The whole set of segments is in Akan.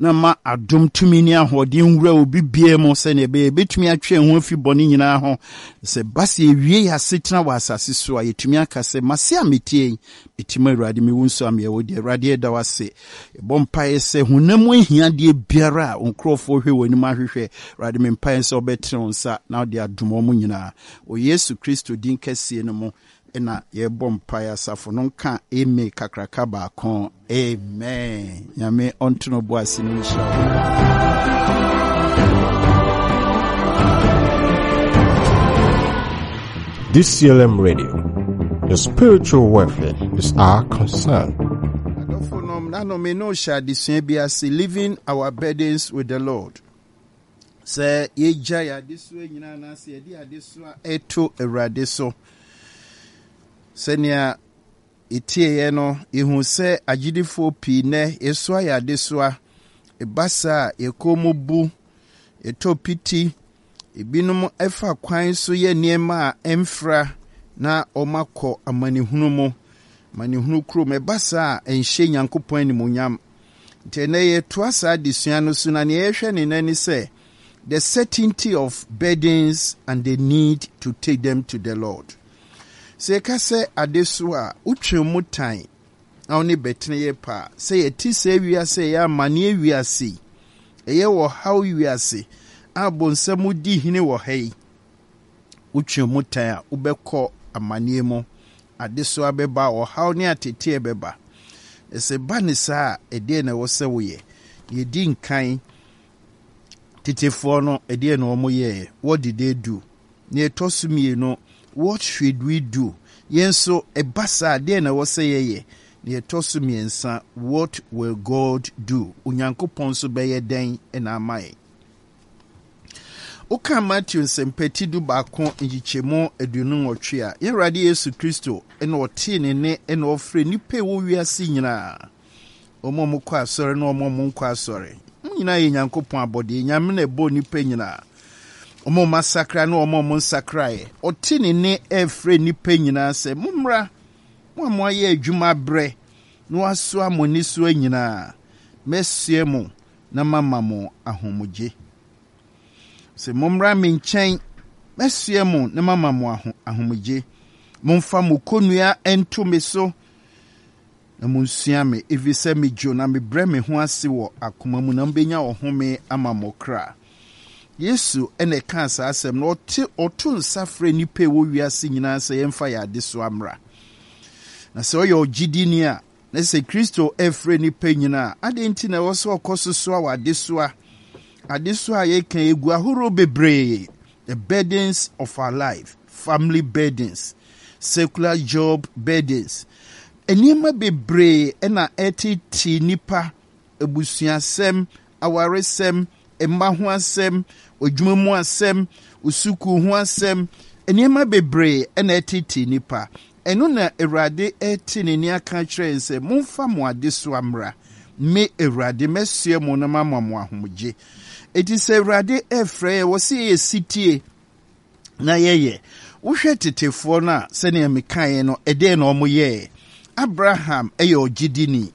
Na ma adom tumi ne ahoɔden nwura obi biara mu sɛnea ɛbɛyɛ yɛbɛtumi atwe yɛn ho afi bɔne nyinaa ho. Sɛ ɛba sɛ yɛwie yɛn asetena wɔ asase so a, yɛtumi aka sɛ, Mase a meteɛ yi, mete mu Awurade, mewu nso a meyɛ wo deɛ. Awurade, yɛda wo ase. Yɛbɔ mpaeɛ sɛ honam mu ahiadeɛ biara a wo nkurɔfoɔ hwɛ w'anim ahwehwɛ, Awurade, me mpaeɛ sɛ wobɛtene wo nsa na wode adom wɔn nyinaa. Wɔ Yesu Kristo din kɛseɛ no mu na yɛbɔ mpaeɛ asafo no nka amen kakraka baako amen nyame ɔnto no bo ase no nhyira wo. DCLM Radio, the spiritual welfare is our concern. Adɔfo nom na no me no hyɛ adesua bi ase living our burdens with the Lord. Sɛ yɛgya yɛ adesoa nyinaa anaasɛ yɛde adesoa ɛto Awurade so. Sɛnea yɛtieeɛ no, yɛhu sɛ agyidifoɔ pii nnɛ yɛsoa yɛ adesoa. Ɛba saa a, yɛn kɔn mu bu, yɛtɔ piti, ebinom fa kwan so yɛ nneɛma a ɛmfra na wɔakɔ amanehunu mu, amanehunu kurom. Ɛba saa a, ɛnhyɛ Nyankopɔn animuonyam. Nti ɛnnɛ yɛtoa saa adesua no so na nea yɛhwɛ ne nnɛ ne sɛ the certainty of burdens and the need to take them to the Lord. Sɛ yɛka sɛ adesoa a, wotwe mu tan na wo ne bɛtene yɛ paa. Sɛ yɛte saa wiase a ɛyɛ amanneɛ wiase yi, ɛyɛ ɔhaw wiase a bonsam di hene wɔ ha yi, wotwe mu tan a, wobɛkɔ amanneɛ mu. Adesoa bɛba, ɔhaw ne ateteɛ bɛba. Na sɛ ɛba ne saa a, ɛdeɛn na ɛwɔ sɛ woyɛ? Deɛ ɛdi nkan, tetefoɔ no, ɛdeɛn na wɔyɛeɛ? What did they do? Nea ɛtɔ so mmienu, what should we do? Yɛn nso, ɛba saa a, deɛn na ɛwɔ sɛ yɛyɛ? Nea ɛtɔ so mmiɛnsa, what will God do? Onyankopɔn nso bɛyɛ dɛn na ama yɛn? Woka Mateo Nsɛmpa ti 11 nkyekyɛmu 28 a, yɛn Awurade Yesu Kristo na ɔtee ne nne na ɔfrɛ nnipa ɛwɔ wiase nyinaa, wɔn a wɔkɔ asɔre ne wɔn a wɔnkɔ asɔre. Wɔn nyinaa yɛ Nyankopɔn abɔdeɛ. Nyame na ɛbɔɔ nnipa nyinaa. Wɔn a wɔasakra ne wɔn a wɔnsakraeɛ. Ɔte ne nne ɛrefrɛ nnipa nyinaa sɛ, mommra, mo a moayɛ adwuma abrɛ na wɔasoa mo nnesoa nyinaa, mɛsoɛ mo na mama mo ahomegye. Sɛ mommra me nkyɛn, mɛsoɛ mo na mama mo ahomegye. Momfa mo konnua nto me so na munsua me, efisɛ midwo na mebrɛ me ho ase wɔ akoma mu, na mubenya ɔhome ama mo kra. Yesu na ɛkaa saa asɛm no. Ɔte ɔto nsa frɛ nnipa a ɛwɔ wiase nyinaa sɛ yɛmfa yɛn adesoa mmra. Na sɛ ɔyɛ ɔgyidini a, na sɛ Kristo refrɛ nnipa nyinaa a, adɛn nti na ɛwɔ sɛ ɔkɔ so soa w'adesoa? Adesoa a yɛka egu ahorow bebree. The burdens of our life, family burdens, secular job burdens. Nneɛma bebree na ɛtetee nnipa, abusuasɛm, awaresɛm, mma ho asɛm, adwuma mu asɛm, sukuu ho asɛm, nneɛma bebree na ɛtetee nnipa. Ɛno na Awurade rete ne nne aka akyerɛ yɛn sɛ, Momfa mo adesoa mmra, me Awurade mɛsoɛ mo na mama mo ahomegye. Enti sɛ Awurade refrɛ yɛn, wɔ sɛ yɛyɛ sitie na yɛyɛ. Wohwɛ tetefoɔ no a, sɛnea mekaeɛ no, ɛdeɛn na wɔyɛɛ? Abraham yɛ ɔgyedini.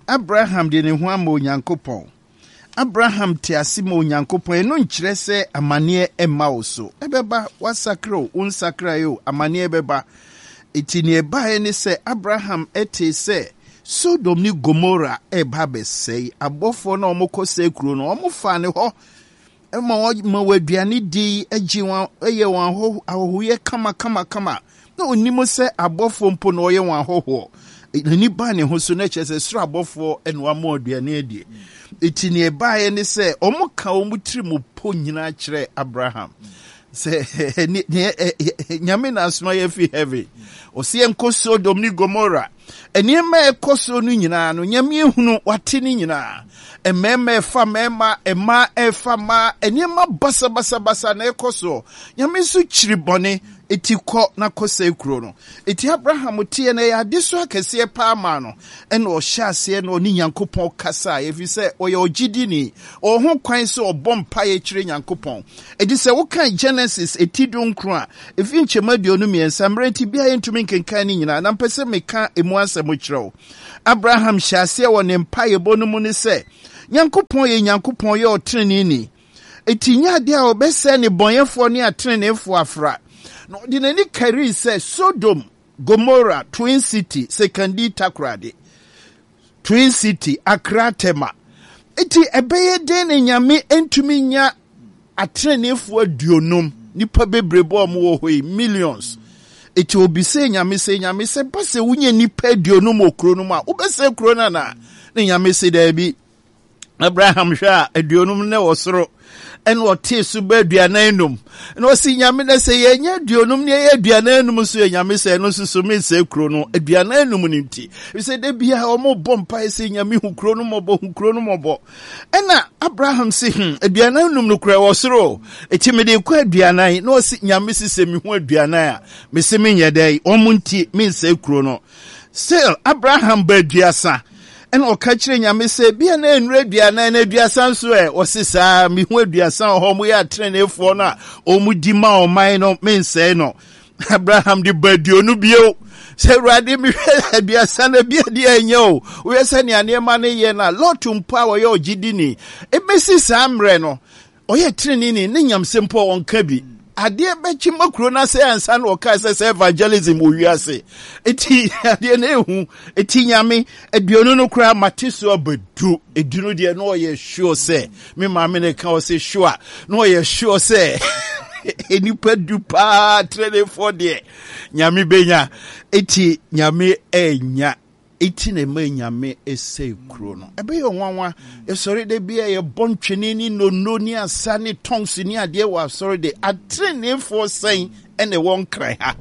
Abraham de ne ho ama Onyankopɔn. Abraham te ase ma Onyankopɔn. Ɛno nkyerɛ sɛ amanneɛ mma wo so. Ɛbɛba, woasakra o, wonsakrae o, amanneɛ bɛba. Enti nea ɛbaeɛ ne sɛ Abraham tee sɛ Sodom ne Gomora reba abɛsɛe. Abɔfoɔ no a wɔkɔsɛe kuro no, wɔfaa ne hɔ ma wɔma wɔn aduane di, gye wɔn, yɛ wɔn ahɔhoyɛ kama kama kama. Na onim sɛ abɔfoɔ mpo na ɔyɛ wɔn ahɔhoɔ. N'ani baa ne ho so na kyerɛ sɛ soro abɔfoɔ na wɔama aduane adie. Eti nea ɛbaeɛ ne sɛ wɔka wɔn tiri mu po nyinaa kyerɛ Abraham sɛ nyame na asoma yɛ fi heaven. Ɔsɛ yɛnkɔ Sodom ne Gomora. Nneɛma a ɛkɔ so no nyinaa no, Nyame ehunu, wate ne nyinaa. Mmarima ɛfa mmarima, mmaa ɛfa mmaa, nneɛma basabasabasa na ɛkɔ so. Nyame nso kyiri bɔne, eti kɔ na kɔsɛe kuro no. Eti Abraham teɛ no, ɛyɛ adesoa kɛseɛ paa maa no. Ɛna ɔhyɛ aseɛ na ɔne Nyankopɔn kasaeɛ, ɛfiri sɛ ɔyɛ ɔgyidini. Ɔwɔ ho kwan sɛ ɔbɔ mpaeɛ kyerɛ Nyankopɔn. Enti sɛ wokan Genesis eti dunkron a, efi nkyɛmu 23, mmerɛ nti biara yɛntumi nkenkan ne nyinaa, na mpɛ sɛ meka emu asɛm kyerɛ wo. Abraham hyɛ aseɛ wɔ ne mpaeɛbɔ no mu ne sɛ, Nyankopɔn yɛ Nyankopɔn yɛ ɔteneneeni. Enti nyɛ adeɛ a ɔbɛsɛe nnebɔneyɛfoɔ ne ateneneefoɔ afra. Na ɔde n'ani karii sɛ Sodom, Gomora, Twin City, Sekandi, Takoradi, Twin City, Accra, Tema. Enti ɛbɛyɛ dɛn na Nyame ntumi nya ateneneefoɔ aduonum, nnipa bebrebe a wɔwɔ hɔ yi, millions. Enti obisee Nyame sɛ, Nyame sɛ ba sɛ wonya nnipa aduonum wɔ kuro no mu a, wobɛsɛe kuro no anaa? Na Nyame se daabi. Abraham hwɛ a aduonum na wɔ soro ɛna ɔtee so bɛ aduanan num na ɔsi nyame na sɛ yɛnyɛ aduonum ne yɛyɛ aduanan num nso yɛ nyame sɛ ɛno nso so mensɛ kuro no aduanan num no nti sɛ da bia wɔn bɔ mpae sɛ nyame hu kuro no mmɔbɔ hu kuro no mmɔbɔ ɛna Abraham si hmm aduanan num no kura wɔ soro eti mede kɔ aduanan na ɔsi nyame si sɛ mehu aduanan a mese menyɛ dɛ wɔn nti mensɛ kuro no still Abraham ba aduasa Ɛna ɔka kyerɛ Nyame sɛ, bia na ɛnnuru aduanan na aduasa nso ɛ? Ɔse, saa, mehu aduasa wɔ hɔ, wɔyɛ ateneneefoɔ no a wɔdi ma ɔman no, mensɛe no. Abraham de ba aduonu bio sɛ, Awurade, mehwɛ aduasa no, bia deɛ ɛnyɛ o. Woyɛ sɛ nea nneɛma no yɛ no a, Lot mpo a ɔyɛ ɔgyedini, ɛbɛsi saa mmerɛ no, Ɔyɛ treneeni ne nyamsɛm mpo a ɔnka bi. Adeɛ bɛkye ma kuro no asɛe ansa na ɔkaa sɛ sɛ evangelism wɔ wiase. Eti adeɛ no ehu. Eti nyame aduonu no koraa mate so aba du. Edu no deɛ na ɔyɛ sure sɛ me maame na ɛka ɔsɛ sure na ɔyɛ sure sɛ nnipa du paa treneefoɔ deɛ nyame benya. Eti nyame ɛnya. Enti na ɛma anyame sɛe kuro no. Ɛbɛyɛ nwanwa. Yɛsɔre da bi a yɛbɔ ntwene ne nnono ne asa ne tongues ne adeɛ wɔ asɔre de. Ateneneefoɔ sɛn na ɛwɔ Nkran ha?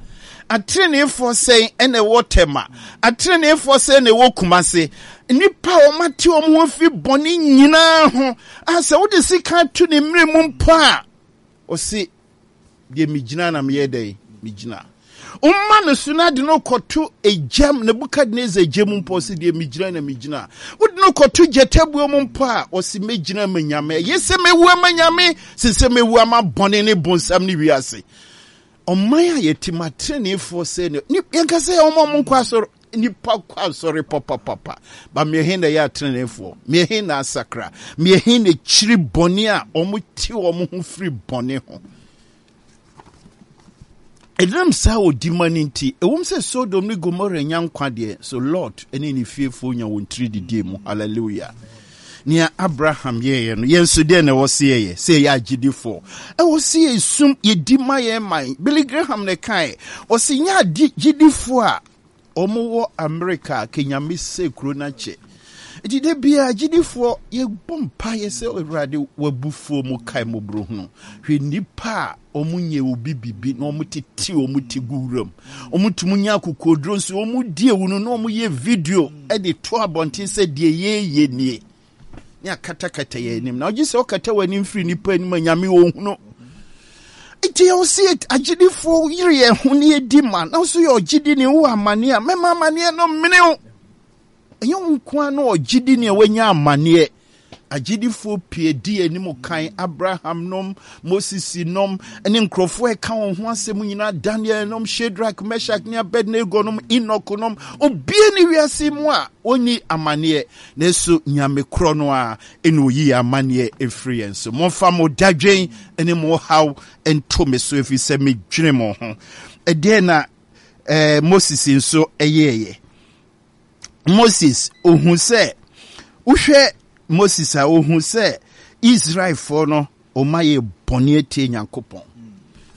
Ateneneefoɔ sɛn na ɛwɔ Tema? Ateneneefoɔ sɛn na ɛwɔ Kumase? Nnipa a wɔate wɔn ho afiri bɔne nyinaa ho a sɛ wode sika to ne mmerɛ mu mpo a, ɔse Deɛ megyina na meyɛ dɛn? Megyina. Woma no so na de no kɔto egyam, Nebukadnezar gya mu mpo, ɔse deɛ megyina na megyina. Wode no kɔto gyatabuo mu mpo a, ɔse mɛgyina ama Nyame. Ɛyɛ sɛ mɛwu ama Nyame, sen sɛ mɛwu ama bɔne ne bonsam ne wiase. Ɔman a yɛte mu ateneneefoɔ sɛ ne, yɛnka sɛ wɔn a wɔnkɔ asɔre, Nnipa kɔ asɔre papapapa, ba mmeɛhe na ɛyɛ ateneneefoɔ? Mmeɛhe na asakra? Mmeɛhe na kyiri bɔne a wɔte wɔn ho firi bɔne ho? Ɛnam saa odima no nti, ɛwom sɛ Sodom ne Gomora nya nkwa deɛ, so Lot ne ne fiefoɔ nya wɔn tiri didie mu. Hallelujah. Nea Abraham yɛeɛ no, yɛn nso deɛ na ɛwɔ sɛ yɛyɛ, sɛ yɛyɛ agyedifoɔ. Ɛwɔ sɛ yɛsum, yɛdi ma yɛn man. Billy Graham na ɛkae, ɔse nyɛ agyedifoɔ a wɔwɔ Amerika a Kenyame sɛ kuro no akyɛ. Nti da biara agyidifoɔ yɛbɔ mpaeɛ sɛ Awurade w'abufuo mu kae mmɔborɔhunu. Hwɛ nnipa a wɔnyɛ obi bibi na wɔtete wɔn ti gu wuram. Wɔtumi nya akokoɔduro nso wɔdi ewu no na wɔyɛ video de to abɔnten sɛ deɛ yɛyɛ nie. Ne akatakata yɛn anim. Na ɔgye sɛ ɔkata w'anim firi nnipa anim a Nyame ɔhunu. Nti ɛwɔ sɛ agyidifoɔ yere yɛn ho ne yɛdi ma na nso yɛ ɔgyidini wowɔ amaneɛ a mɛma amaneɛ no mmene wo. Ɛnyɛ wo nko ara na ɔgyidini a wanya amaneɛ. Agyidifoɔ pii adi anim kan, Abraham nom, Moses nom, ne nkurɔfoɔ a ɛka wɔn ho asɛm nyinaa, Daniel nom, Shadrach, Meshach ne Abednego nom, Enoch nom, obie ne wiase mu a ɔnni amaneɛ. Nanso Nyame korɔ no ara na ɔyi yɛn amaneɛ firi yɛn so. Momfa mo dadwen ne mo haw nto me so, ɛfiri sɛ medwene mo ho. Ɛdeɛn na eh, Moses nso yɛeɛ? Moses, ɔhu sɛ, wohwɛ Moses a, ɔhu sɛ Israelfoɔ no Wɔayɛ bɔne atia Nyankopɔn.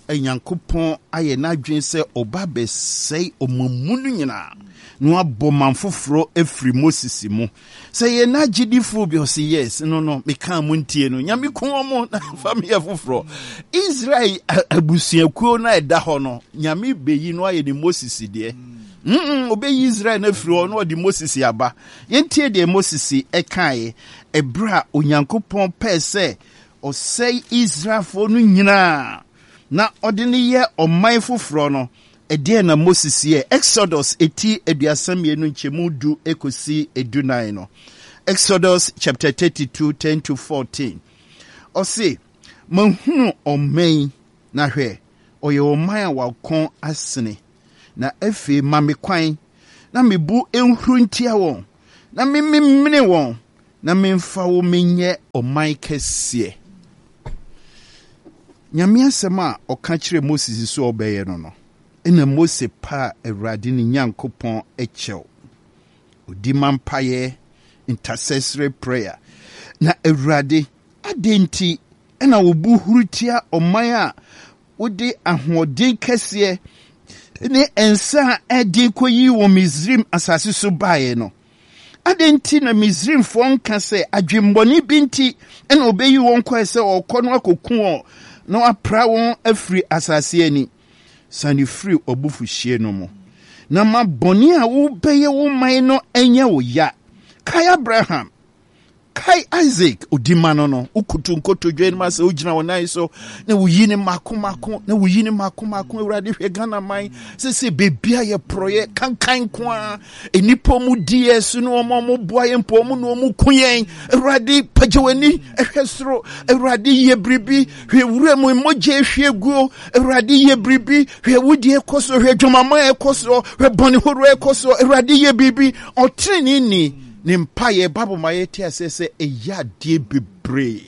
Nyankopɔn ayɛ n'adwene sɛ ɔba bɛsɛe ɔman mu no nyinaa na wabɔ man foforɔ afiri Moses mu. Sɛ yɛn n'agyedifoɔ bi ɔse yes no no mekaa mo ntie no Nyame ku wɔn na fa meyɛ foforɔ. Israel abusuakuo no a ɛda hɔ no Nyame bɛyi no ayɛ ne Moses deɛ. Mm, ɔbɛyi Israel no afiri hɔ na ɔde Moses aba. Yɛntie deɛ Moses kaeɛ ɛberɛ a Onyankopɔn pɛɛ sɛ ɔsɛe Israelfoɔ no nyinaa na ɔde no yɛ ɔman foforɔ no, ɛdeɛn na Moses yɛɛ? Exodus eti 32 nkyɛmu du kɔsi 14 no. Exodus chapter 32, 10 to 14. Ɔse, Mahunu ɔman yi, na hwɛ, ɔyɛ ɔman a wakɔn asene. Na afei ma me kwan na me bo nhuru ntia wɔn, na mememene wɔn. na memfa wo menyɛ ɔman kɛseɛ. Nyame asɛm a ɔka kyerɛɛ Moses sɛ ɔbɛyɛ no no, ɛna Mose paa Awurade ne Nyankopɔn kyɛw. Ɔdi ma mpaeɛ, intercessory prayer. Na Awurade, adɛn nti na wo bo huru tia ɔman a wode ahoɔden kɛseɛ ne nsa a ɛden kɔyii wɔn Misraim asase so baeɛ no? Adɛn nti na Misraimfoɔ nka sɛ adwemmɔne bi nti na ɔbɛyi wɔn kɔɛ sɛ ɔrekɔ no akɔku wɔn na wapra wɔn afiri asase ani? Sane firi w'abufuhyeɛ no mu, na ma bɔne a wobɛyɛ wo man no nyɛ wo ya. Kae Abraham, Kae Isaac, odi ma no no, wokoto nkotodwe anim asɛ wogyina wo nan so na woyi ne mako mako na woyi ne mako mako. Awurade hwɛ Ghana man sese beebi a yɛ porɔyɛ kankan nko ara, nnipa mu di yɛ so ne wɔn a wɔboa yɛn mpo wɔn na wɔn ku yɛn. Awurade pagya w'ani hwɛ soro, Awurade yɛ biribi, hwɛ wura mu mogya ehwie guo. Awurade yɛ biribi, hwɛ wudie kɔ so, hwɛ dwamama ɛkɔ so, hwɛ bɔne horow ɛkɔ so. Awurade yɛ biribi, ɔtrenee ni. Ne mpaeɛ, Bible ma yɛte aseɛ sɛ ɛyɛ adeɛ bebree.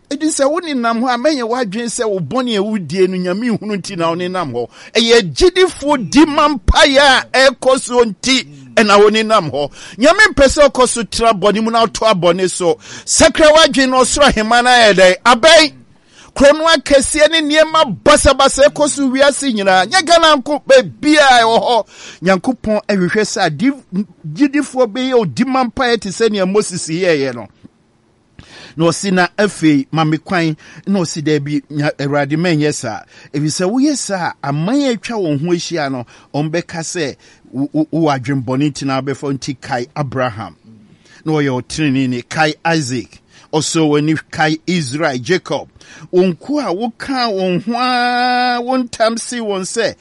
Ɛdi sɛ wo nenam hɔ a, mɛnyɛ w'adwene sɛ wo bɔne a wodie no Nyame nhunu nti na wo nenam hɔ. Ɛyɛ agyidifoɔ di ma mpaeɛ a ɛrekɔ soɔ nti ɛna wo nenam hɔ. Nyame mpɛ sɛ ɔkɔ so tra bɔne mu na ɔtoa bɔne so. Sakra w'adwene na ɔsoro ahemman no ayɛ dɛn? Abɛn. Korɔno akɛseɛ ne nneɛma basabasa ɛkɔ so wiase nyinaa, nyɛ Ghana nko, baabiara ɛwɔ hɔ. Nyankopɔn ɛhwehwɛ sɛ adi gyidifoɔ bɛyɛ odima mpaeɛ te sɛ nea Moses yɛeɛ no. Na ɔsi na afei ma me kwan, na ɔsi daabi, Awurade mɛnyɛ saa, ɛfiri sɛ woyɛ saa a, aman a atwa wɔn ho ahyia no, wɔbɛka sɛ wowɔ adwemmɔne nti na wabɛfa nti. Kae Abraham, na ɔyɛ ɔteneneeni, kae Isaac, Ɔsɔɔ w'ani kae Israel, Jacob, wo nkoa a wokaa wɔn ho ara wo ntam see wɔn sɛ,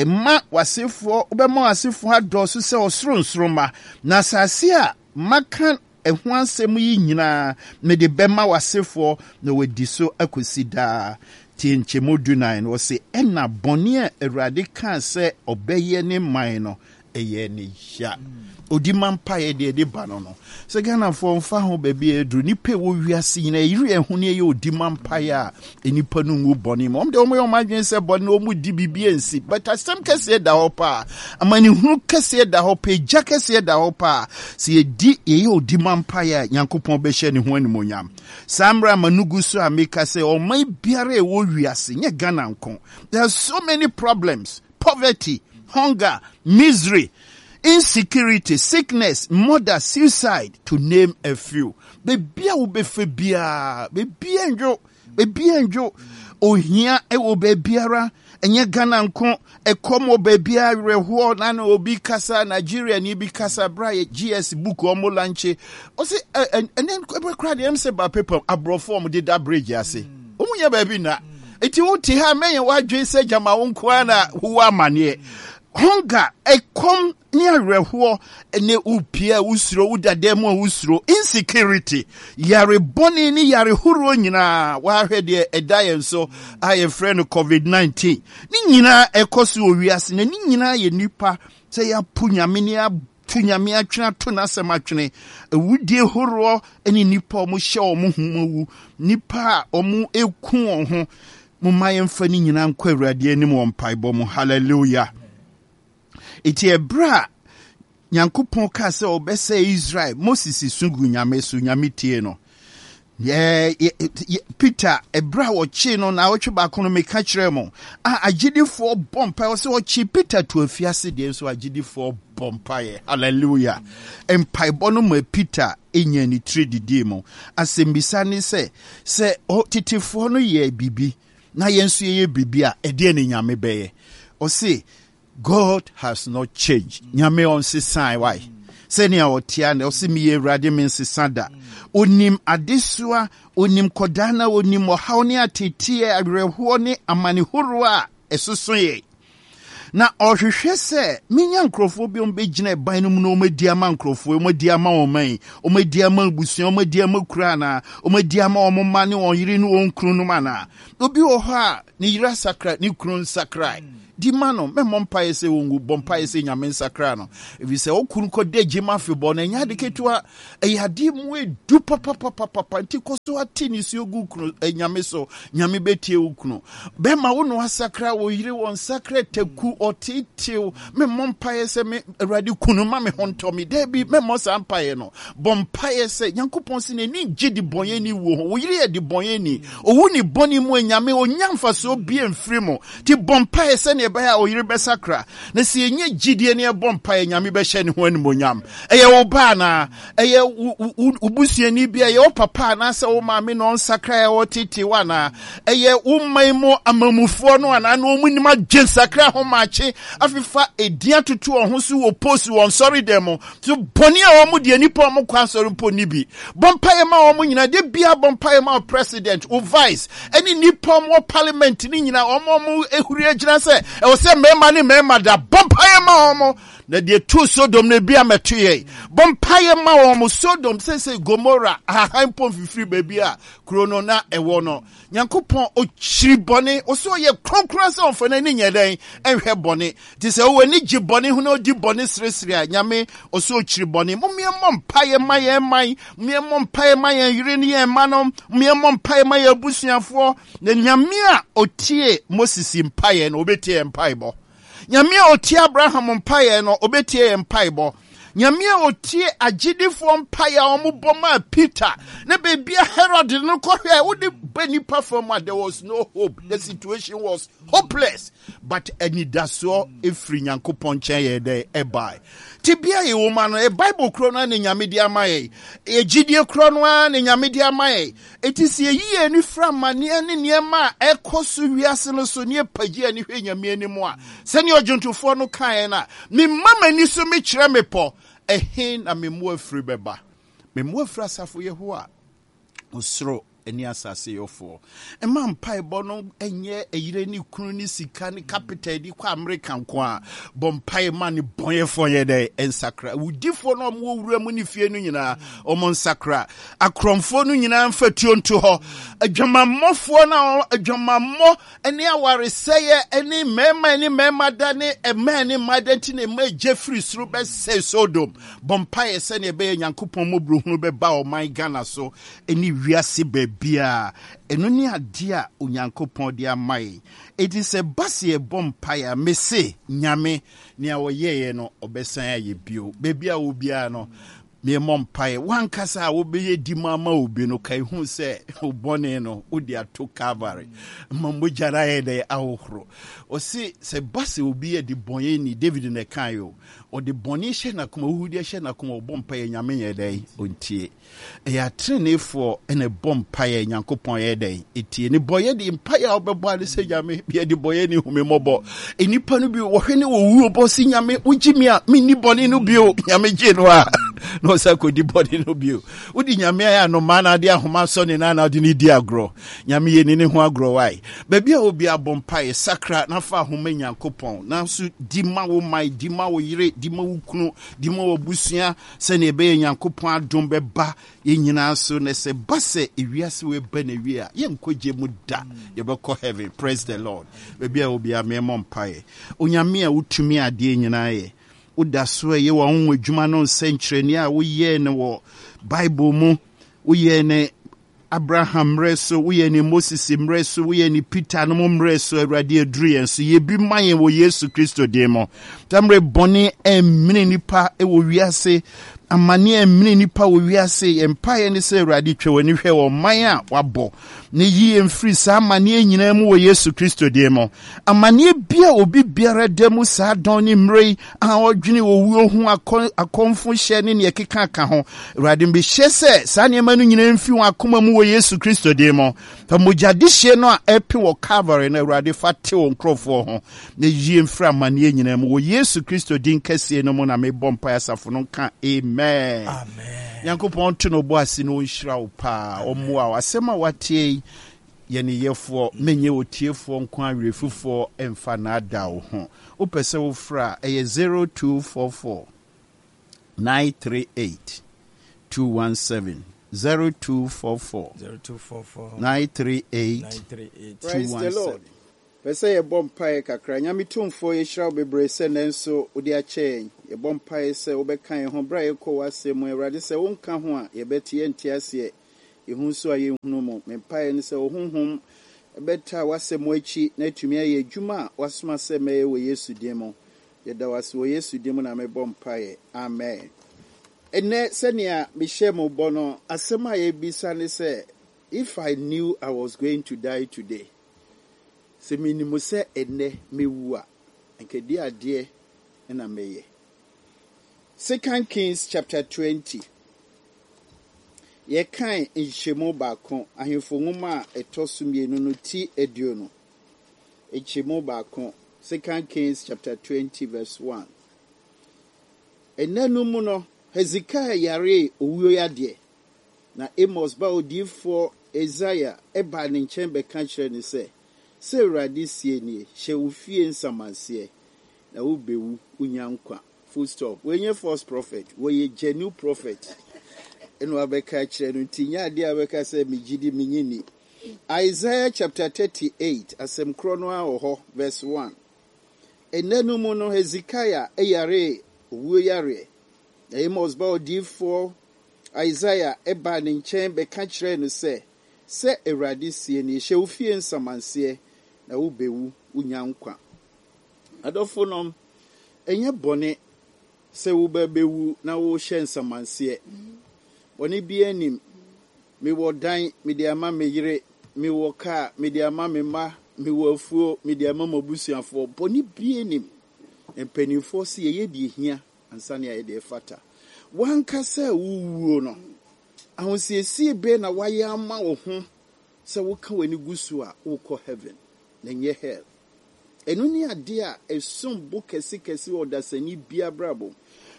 Mma w'asefoɔ, wobɛma w'asefoɔ adɔɔso sɛ ɔsoro nsoromma, na asase a maka ɛho asɛm yi nyinaa mede bɛma w'asefoɔ na wɔadi so akɔsi daa. Tie nkyɛmu dunan no, ɔse, Ɛnna bɔne a Awurade kaa sɛ ɔbɛyɛ ne man no, ɛyɛ ne ya. Odi ma mpaeɛ deɛ ɛde ba no no. Sɛ Ghanafoɔ mfa ho baabi a ɛduru, nipa ɛwɔ wiase nyinaa ɛyere yɛn ho ne ɛyɛ odi ma mpaeɛ a nnipa no ngu bɔne mu. Wɔn deɛ wɔyɛ wɔn adwene sɛ bɔne no wɔn di biribi ansi. But asɛm kɛseɛ da hɔ paa. Amanehunu kɛseɛ da hɔ paa. Egya kɛseɛ da hɔ paa. Sɛ yɛdi yɛyɛ odi ma mpaeɛ a Nyankopɔn bɛhyɛ ne ho animuonyam. Saa mmerɛ a m'ano gu so a meka sɛ ɔman biara a ɛwɔ wiase, nyɛ Ghana nko, there are so many problems. Poverty, hunger, misery, insecurity, sickness, murder, suicide, to name a few. Baabi a wobɛfa biara, baabi a ndwo, baabi a ndwo, ohia wɔ baabiara, ɛnyɛ Ghana nko, ɛkɔm wɔ baabiara, awerɛhoɔ, na na obi kasa, Nigeria ni bi kasa, bra yɛ GS book ɔmo lanche, ɔse ɛnɛ ɛbɛ kora deɛ ɛm sɛ ba paper aborɔfo ɔmo deda bridge ase, ɔmo nyɛ baabi nna. Nti wote ha mɛnyɛ w'adwene sɛ gyama wo nko ara na wowɔ amaneɛ. Hunger, ɛkɔm ne awerɛhoɔ ne wopie a wosuro, woda dan mu a wosuro, insecurity, yare bɔne ne yare horoɔ nyinaa, woahwɛ deɛ ɛda yɛn so a yɛfrɛ no COVID-19. Ne nyinaa ɛkɔ so wɔ wiase na ne nyinaa yɛ nnipa sɛ yɛapo Nyame ne To Nyame atwene ato n'asɛm atwene. Awudie horoɔ ne nnipa a wɔhyɛ wɔn ho mu awu, nnipa a wɔku wɔn ho. Momma yɛmfa ne nyinaa nkɔ Awurade anim wɔ mpaebɔ mu. Hallelujah. Enti ɛberɛ a Nyankopɔn kaa sɛ ɔbɛsɛe Israel, Moses su gu Nyame so, Nyame tie no. Peter, ɛberɛ a wɔkyee no naawɔtwe baako no, meka kyerɛɛ mo, a agyidifoɔ bɔ mpaeɛ, ɔsɛ ɔkye Peter to afiase deɛ nso agyidifoɔ bɔ mpaeɛ. Hallelujah. Mpaebɔ no ma Peter nya ne tiri didii mu. Asɛmmisa ne sɛ, sɛ tetefoɔ no yɛ biribi na yɛn nso yɛyɛ biribi a, ɛdeɛ ne Nyame bɛyɛ? Ɔse, God has not changed. Nyame ɔnsesae why? Sɛnea ɔtea na ɔse meyɛ Awurade mensesa da. Onim adesoa, onim kɔdaa na onim ɔhaw ne ateteɛ, awerɛhoɔ ne amane horoɔ a ɛsoso yɛn. Na ɔhwehwɛ sɛ menya nkurɔfoɔ bi a wɔbɛgyina ɛban no mu na wɔadi ama nkurɔfoɔ, wɔadi ama wɔn man, wɔadi ama abusua, wɔadi ama kuro anaa, wɔadi ama wɔn mma ne wɔn yere ne wɔn kununom anaa. Obi wɔ hɔ a ne yere asakra, ne kunu nsakrae. Di ma no. Mɛmmɔ mpaeɛ sɛ ɔnwu. Bɔ mpaeɛ sɛ Nyame nsakra no. Ɛfiri sɛ wo kunu kɔda gyem afebɔɔ no, ɛnyɛ ade ketewa. Ɛyɛ adeɛ mu edu papapapapa. Nti kɔ so ate nisuo gu kunu, eh, Nyame so. Nyame bɛtie wo kunu. Bɛma wo na wasakra wo yere, wɔ nsakra taku, ɔteetew. Memmɔ mpaeɛ sɛ me Awurade kunu ma me ho ntɔ me. Daabi, memmɔ saa mpaeɛ no. Bɔ mpaeɛ sɛ Nyankopɔn se n'ani ngye debɔnyɛni wuo ho. Wo yere yɛ debɔnyɛni. Owu ne bɔne mu a Nyame ɔnnya mfasoɔ bia mfiri mu. Nti bɔ mpaeɛ sɛdeɛ ɛbɛyɛ a wo yere bɛsakra. Na sɛ yɛnya gyidie na yɛbɔ mpaeɛ, Nyame bɛhyɛ ne ho animuonyam. Ɛyɛ wo ba anaa? Ɛyɛ wo busuani bi? Ɛyɛ wo papa anaasɛ wo maame na ɔnsakra a ɔtetee wo anaa? Ɛyɛ wo man mu amamufoɔ no anaa na wɔn nim adwe nsakra ho maakye afefa edin atoto wɔn ho so wɔ post wɔn nsɔre mu? So bɔne a wɔn deɛ nipa wɔn kɔ asɔre mpo ni bi. Bɔ mpaeɛ ma wɔn nyinaa. De bia bɔ mpaeɛ ma wo president, wo vice, ɛne nipa wɔn wɔ parliament ne nyinaa wɔn wɔn ehuri agyina sɛ ɛwɔ sɛ mmarima ne mmarima da. Bɔ mpaeɛ ma wɔn. Na deɛ tu Sodom no ebi amɛto yɛn. Bɔ mpaeɛ ma wɔn. Sodom sese Gomora ahahan mpo mfifiri baabi a kuro no na ɛwɔ no. Nyankopɔn ɔkyiri bɔne. Ɔsɛ ɔyɛ kronkron sɛ ɔmfa n'ani nyɛ dɛn ɛnhwɛ bɔne. Nti sɛ wowɔ ani gye bɔne ho na ɔdi bɔne seresere a, Nyame ɔsɛ ɔkyiri bɔne. Momeɛmmɔ mpaeɛ ma yɛn man. Momeɛmmɔ mpaeɛ ma yɛn yere ne yɛn mma no. Momeɛmmɔ mpaeɛ ma yɛn abusuafoɔ. Na Nyame a ɔtie Moses mpaeɛ no, ɔbɛtie yɛn mpaebɔ. Nyame a ɔtie Abraham mpaeɛ no, ɔbɛtie yɛn mpaebɔ. Nyame a ɔtie agyedifoɔ mpaeɛ a wɔbɔ maa Peter ne baabi a Herod no kɔhwɛ a wode ba nipa fam a there was no hope. The situation was hopeless. But anidasoɔ ɛfiri Nyankopɔn nkyɛn yɛ dɛ ɛbae. Tebea a yɛwɔ mu ano, ɛ Bible korɔ no ara na Nyame de ama yɛn. Ɛyɛ gyidie korɔ no ara na Nyame de ama yɛn. Enti sɛ yɛyi yɛn ani firi amanneɛ ne nneɛma a ɛkɔ so wiase no so ne yɛpagye yɛn ani hwɛ Nyame anim a, sɛnea ɔdwontofoɔ no kaeɛ no a, Mema m'ani so mekyerɛ mmepɔ, ɛhe na me mmoa firi bɛba? Me mmoa firi asafo Yehowa, ɔsoro ne asase yɔfoɔ. Mma mpaebɔ no nyɛ ɛyere ne kunu ne sika ne capital de kɔ Amerika nko a. Bɔ mpae ma ne bɔnyɛfoɔ yɛ dɛ nsakra. Awudifoɔ no a wɔwɔ wura mu ne fie no nyinaa, wɔn nsakra. Akorɔmfoɔ no nyinaa mfa tuo nto hɔ. Adwamammɔfoɔ no a adwamammɔ ne awaresɛeɛ ne mmarima ne mmarima da ne mmaa ne mmaa da nti na ɛma egya firi soro bɛsɛe Sodom. Bɔ mpaeɛ sɛdeɛ ɛbɛyɛ Nyankopɔn mmɔborɔhunu bɛba ɔman Ghana so ne wiase baabiara. Ɛno ne adeɛ a Onyankopɔn de ama yɛn. Enti sɛ ɛba sɛ yɛbɔ mpaeɛ a, mese Nyame, nea ɔyɛeɛ no, ɔbɛsan ayɛ bio. Baabi a wɔ biara no, Memmɔ mpaeɛ. W'ankasa a wobɛyɛ di mu ama obi no, kae hu sɛ wo bɔne no wode ato Calvary ma mogya no ayɛ dɛ ahohoro. Ɔse sɛ ba sɛ obi yɛ de bɔne David na ɛkae o, ɔde bɔne hyɛ n'akoma, huhudeɛ hyɛ n'akoma, ɔbɔ mpaeɛ Nyame nyɛ dɛn? Ɔntie. Ɛyɛ ateneneefoɔ na ɛbɔ mpaeɛ Nyankopɔn yɛ dɛn? Ɛtie. Ne bɔyɛ de mpaeɛ a wobɛbɔ ade sɛ Nyame yɛ de bɔyɛ ne hu me mmɔbɔ. Nnipa no bi wɔhwɛ ne wɔwuo bɔ se Nyame wogye me a menni bɔne no bio. Nyame gye no a na ɔsa kɔdi bɔne no bio. Wode Nyame ayɛ anomaa na ade ahoma sɔ ne nan na wode ne di agorɔ. Nyame yɛ ni ne ho agorɔ wae. Baabi a obi abɔ mpaeɛ sakra na fa ahoma Nyankopɔn. Nanso di ma wo man, di ma wo yere, di ma wo kunu, di ma w'abusua. Sɛnea ɛbɛyɛ Nyankopɔn adom bɛba yɛn nyinaa so, na sɛ ɛba sɛ ewiase wei ba n'awie a, yɛnkɔ gye mu da, yɛbɛkɔ heaven. Praise the Lord. Baabi a obiara mɛmmɔ mpaeɛ. Onyame a wotumi adeɛ nyinaa yɛ, woda so ɛyɛ w'anwonwa adwuma no nsɛnkyerɛnneɛ a woyɛɛ no wɔ Bible mu, woyɛɛ no Abraham mmerɛ so, woyɛ ne Moses mmerɛ so, woyɛ ne Peter no mo mmerɛ so, Awurade aduru yɛn so. Yɛ bi ma yɛn wɔ Yesu Kristo din mu. Saa mmerɛ bɔne ɛmmene nipa wɔ wiase, amane ɛmmene nipa wɔ wiase. Yɛn mpaeɛ ne sɛ Awurade twa w'ani hwɛ wɔ ɔman a wabɔ na yi yɛn firi saa amaneɛ nyinaa mu wɔ Yesu Kristo din mu. Amaneɛ bi a obi biara da mu saa dɔn ne mmerɛ yi a ɔdwene owuo ho akɔmfo hyɛ ne nea ɛkeka ka ho. Awurade mehyɛ sɛ saa nneɛma no nyinaa mfi wɔn akoma mu wɔ Yesu Kristo din mu. Fa mogya dehyeɛ no a ɛpe wɔ Calvary no Awurade fa te wo nkurɔfoɔ ho na yie mfiri amanneɛ nyinaa mu wɔ Yesu Kristo din kɛseɛ no mu na mebɔ mpaeɛ asafo no nka amen. Amen. Nyankopɔn nto no bo ase na ɔnhyira wo paa, ɔmmoa wo. Asɛm a woateɛ yi Yɛ ne yɛfoɔ, menyɛ otiefoɔ nko ara werɛfifoɔ mfa nnaadaa wo ho. Wopɛ sɛ wofrɛ a, ɛyɛ 0244 938 217, 0244 0244 938 938 Praise the 217. Lord. Pɛ sɛ yɛbɔ mpaeɛ kakra. Nyame Tumfoɔ, yɛhyira wo bebree sɛ nnɛ nso wode akyɛ yɛn. Yɛbɔ mpaeɛ sɛ wobɛka yɛn ho berɛ a yɛkɔ w'asɛm mu. Awurade, sɛ wonka ho a, yɛbɛte, yɛnte aseɛ. Yɛhu nso a yɛnhunu mu. Me mpaeɛ ne sɛ wo Honhom bɛtaa w'asɛm akyi na atumi ayɛ adwuma a woasoma sɛ mɛyɛ wɔ Yesu din mu. Yɛda wo ase wɔ Yesu din mu na mebɔ mpaeɛ. Amen. Ɛnnɛ, sɛnea mehyɛɛ mo bɔ no, asɛm a yɛrebisa ne sɛ, If I knew I was going to die today, sɛ menim sɛ ɛnnɛ mɛwu a, anka ɛdeɛ adeɛ na mɛyɛ? Second Kings chapter 20. Yɛkan nkyɛmu baako, Ahemfo nwoma a ɛtɔ so mmienu no ti 20. Nkyɛmu baako, Second Kings chapter 20 verse 1. Ɛnna no mu no, Hezekiah yaree owuo yadeɛ. Na Amos ba odiyifoɔ Yesaia baa ne nkyɛn bɛka kyerɛɛ no sɛ, Sɛ Awurade seɛ nie, Hyɛ wo fie nsamanseɛ, na wobɛwu, wonnya nkwa. Full stop. Wei nyɛ false prophet, wɔyɛ genuine prophet. Ɛna wabɛka akyerɛ no, nti nyɛ adeɛ a wobɛka sɛ megye di, menye ni. Isaiah chapter 38, asɛm korɔ no ara wɔ hɔ, verse 1. Ɛnna no mu no, Hezekiah yaree owuo yareɛ. Na Amos ba odiyifoɔ Isaia baa ne nkyɛn bɛka kyerɛɛ no sɛ, Sɛ Awurade seɛ nie, Hyɛ wo fie nsamanseɛ, na wobɛwu, wonnya nkwa. Adɔfonom, ɛnyɛ bɔne sɛ wobɛbɛwu na wohyɛ nsamanseɛ. Bɔne biara nnim. Mewɔ dan, mede ama me yere, mewɔ kaa, mede ama me mma, mewɔ afuo, mede ama m'abusuafoɔ. Bɔne biara nnim. Mpanimfoɔ se yɛyɛ deɛ ɛhia ansa ne ayɛ deɛ ɛfata. W'ankasa a worewuo no, ahosiesie bɛn na woayɛ ama wo ho sɛ woka w'ani gu so a worekɔ heaven na ɛnyɛ hell? Ɛno ne adeɛ a ɛsom bo kɛsekɛse wɔ ɔdasani biara abrabɔ mu.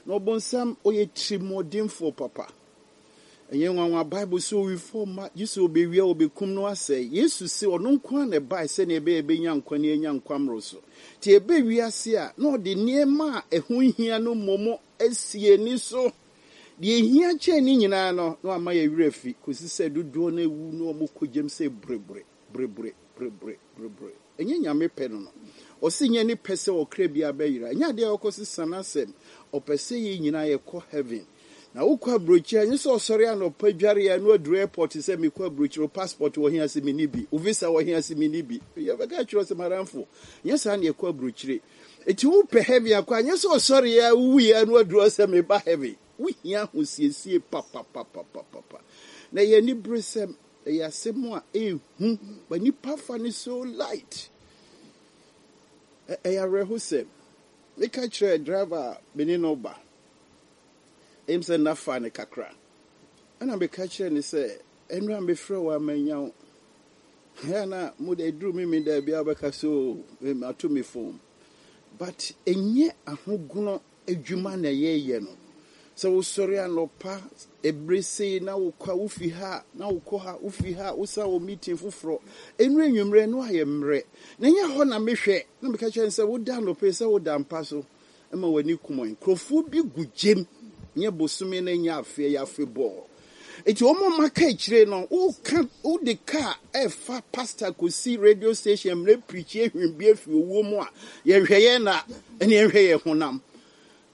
Na ɔbonsam, ɔyɛ tirimuɔdenfoɔ papa. Ɛnyɛ nwanwa, Bible se owifoɔ mma, gye sɛ ɔbɛwia, ɔbɛkum na wasɛe. Yesu se ɔno nko ara na ɛbae sɛnea ɛbɛyɛ yɛbɛnya nkwa na yɛanya nkwa mmoroso. Nti ɛbɛ wiase a, na ɔde nneɛma a ɛho hia no mmom asi yɛn ani so. Deɛ ɛhia kyɛn ne nyinaa no, na wama yɛn werɛ afi, kɔsi sɛ dodoɔ no awu na wɔkɔ gyam sɛ burebure, burebure, burebure, burebure. Ɛnyɛ Nyame pɛ no no. Ɔse nyɛ ne pɛ sɛ ɔkra biara bɛyera. Ɛnyɛ adeɛ a ɔkɔ sesa n'asɛm. Ɔpɛ sɛ yɛn nyinaa yɛkɔ heaven. Na wokɔ aburokyire a, ɛnyɛ sɛ ɔsɔre anɔpa dware a na waduru airport sɛ mekɔ aburokyire, wo passport wɔ he ase menni bi, wo visa wɔ he ase menni bi. Yɛbɛka akyerɛ wo sɛ madamfo, nyɛ saa na yɛkɔ aburokyire. Enti wopɛ heaven akɔ a, ɛnyɛ sɛ ɔsɔre a wowui a na waduru hɔ sɛ meba heaven. Wohia ahosiesie papapapapapa. Na ɛyɛ aniberesɛm, ɛyɛ asɛm a ɛhu, but nnipa fa no so light. Ɛyɛ awerɛhosɛm. Meka kyerɛɛ driver a me ne no ba, Ɛyɛ me sɛ nna faa no kakra. Ɛna meka kyerɛɛ no sɛ, Ɛnora mefrɛ wo a mannya wo. Ɛyɛ a na mo de ɛduru me me da biara wobɛka sɛ o mato me phone. But ɛnyɛ ahogono adwuma na yɛyɛ no. Sɛ wosɔre anɔpa ɛbere sei na wokɔ a wofi ha na wokɔ ha wofi ha wosan wɔ meeting foforɔ. Ɛnuru anwummerɛ no ayɛ mmerɛ. Na ɛnyɛ hɔ na mehwɛ na meka kyerɛ no sɛ woda anɔpa yi sɛ woda mpa so. ma w'ani kum wɔn. Nkurɔfoɔ bi gu gyem, nyɛ bosome na nyɛ afe, ɛyɛ afebɔɔ. Enti wɔn a wɔaka akyire no, woka wode kaa ɛfa pastor kɔsi radio station mmerɛ pirikyi ahwim bi afiri owuo mu a, yɛnhwɛ yɛn na ɛne yɛnhwɛ yɛn honam.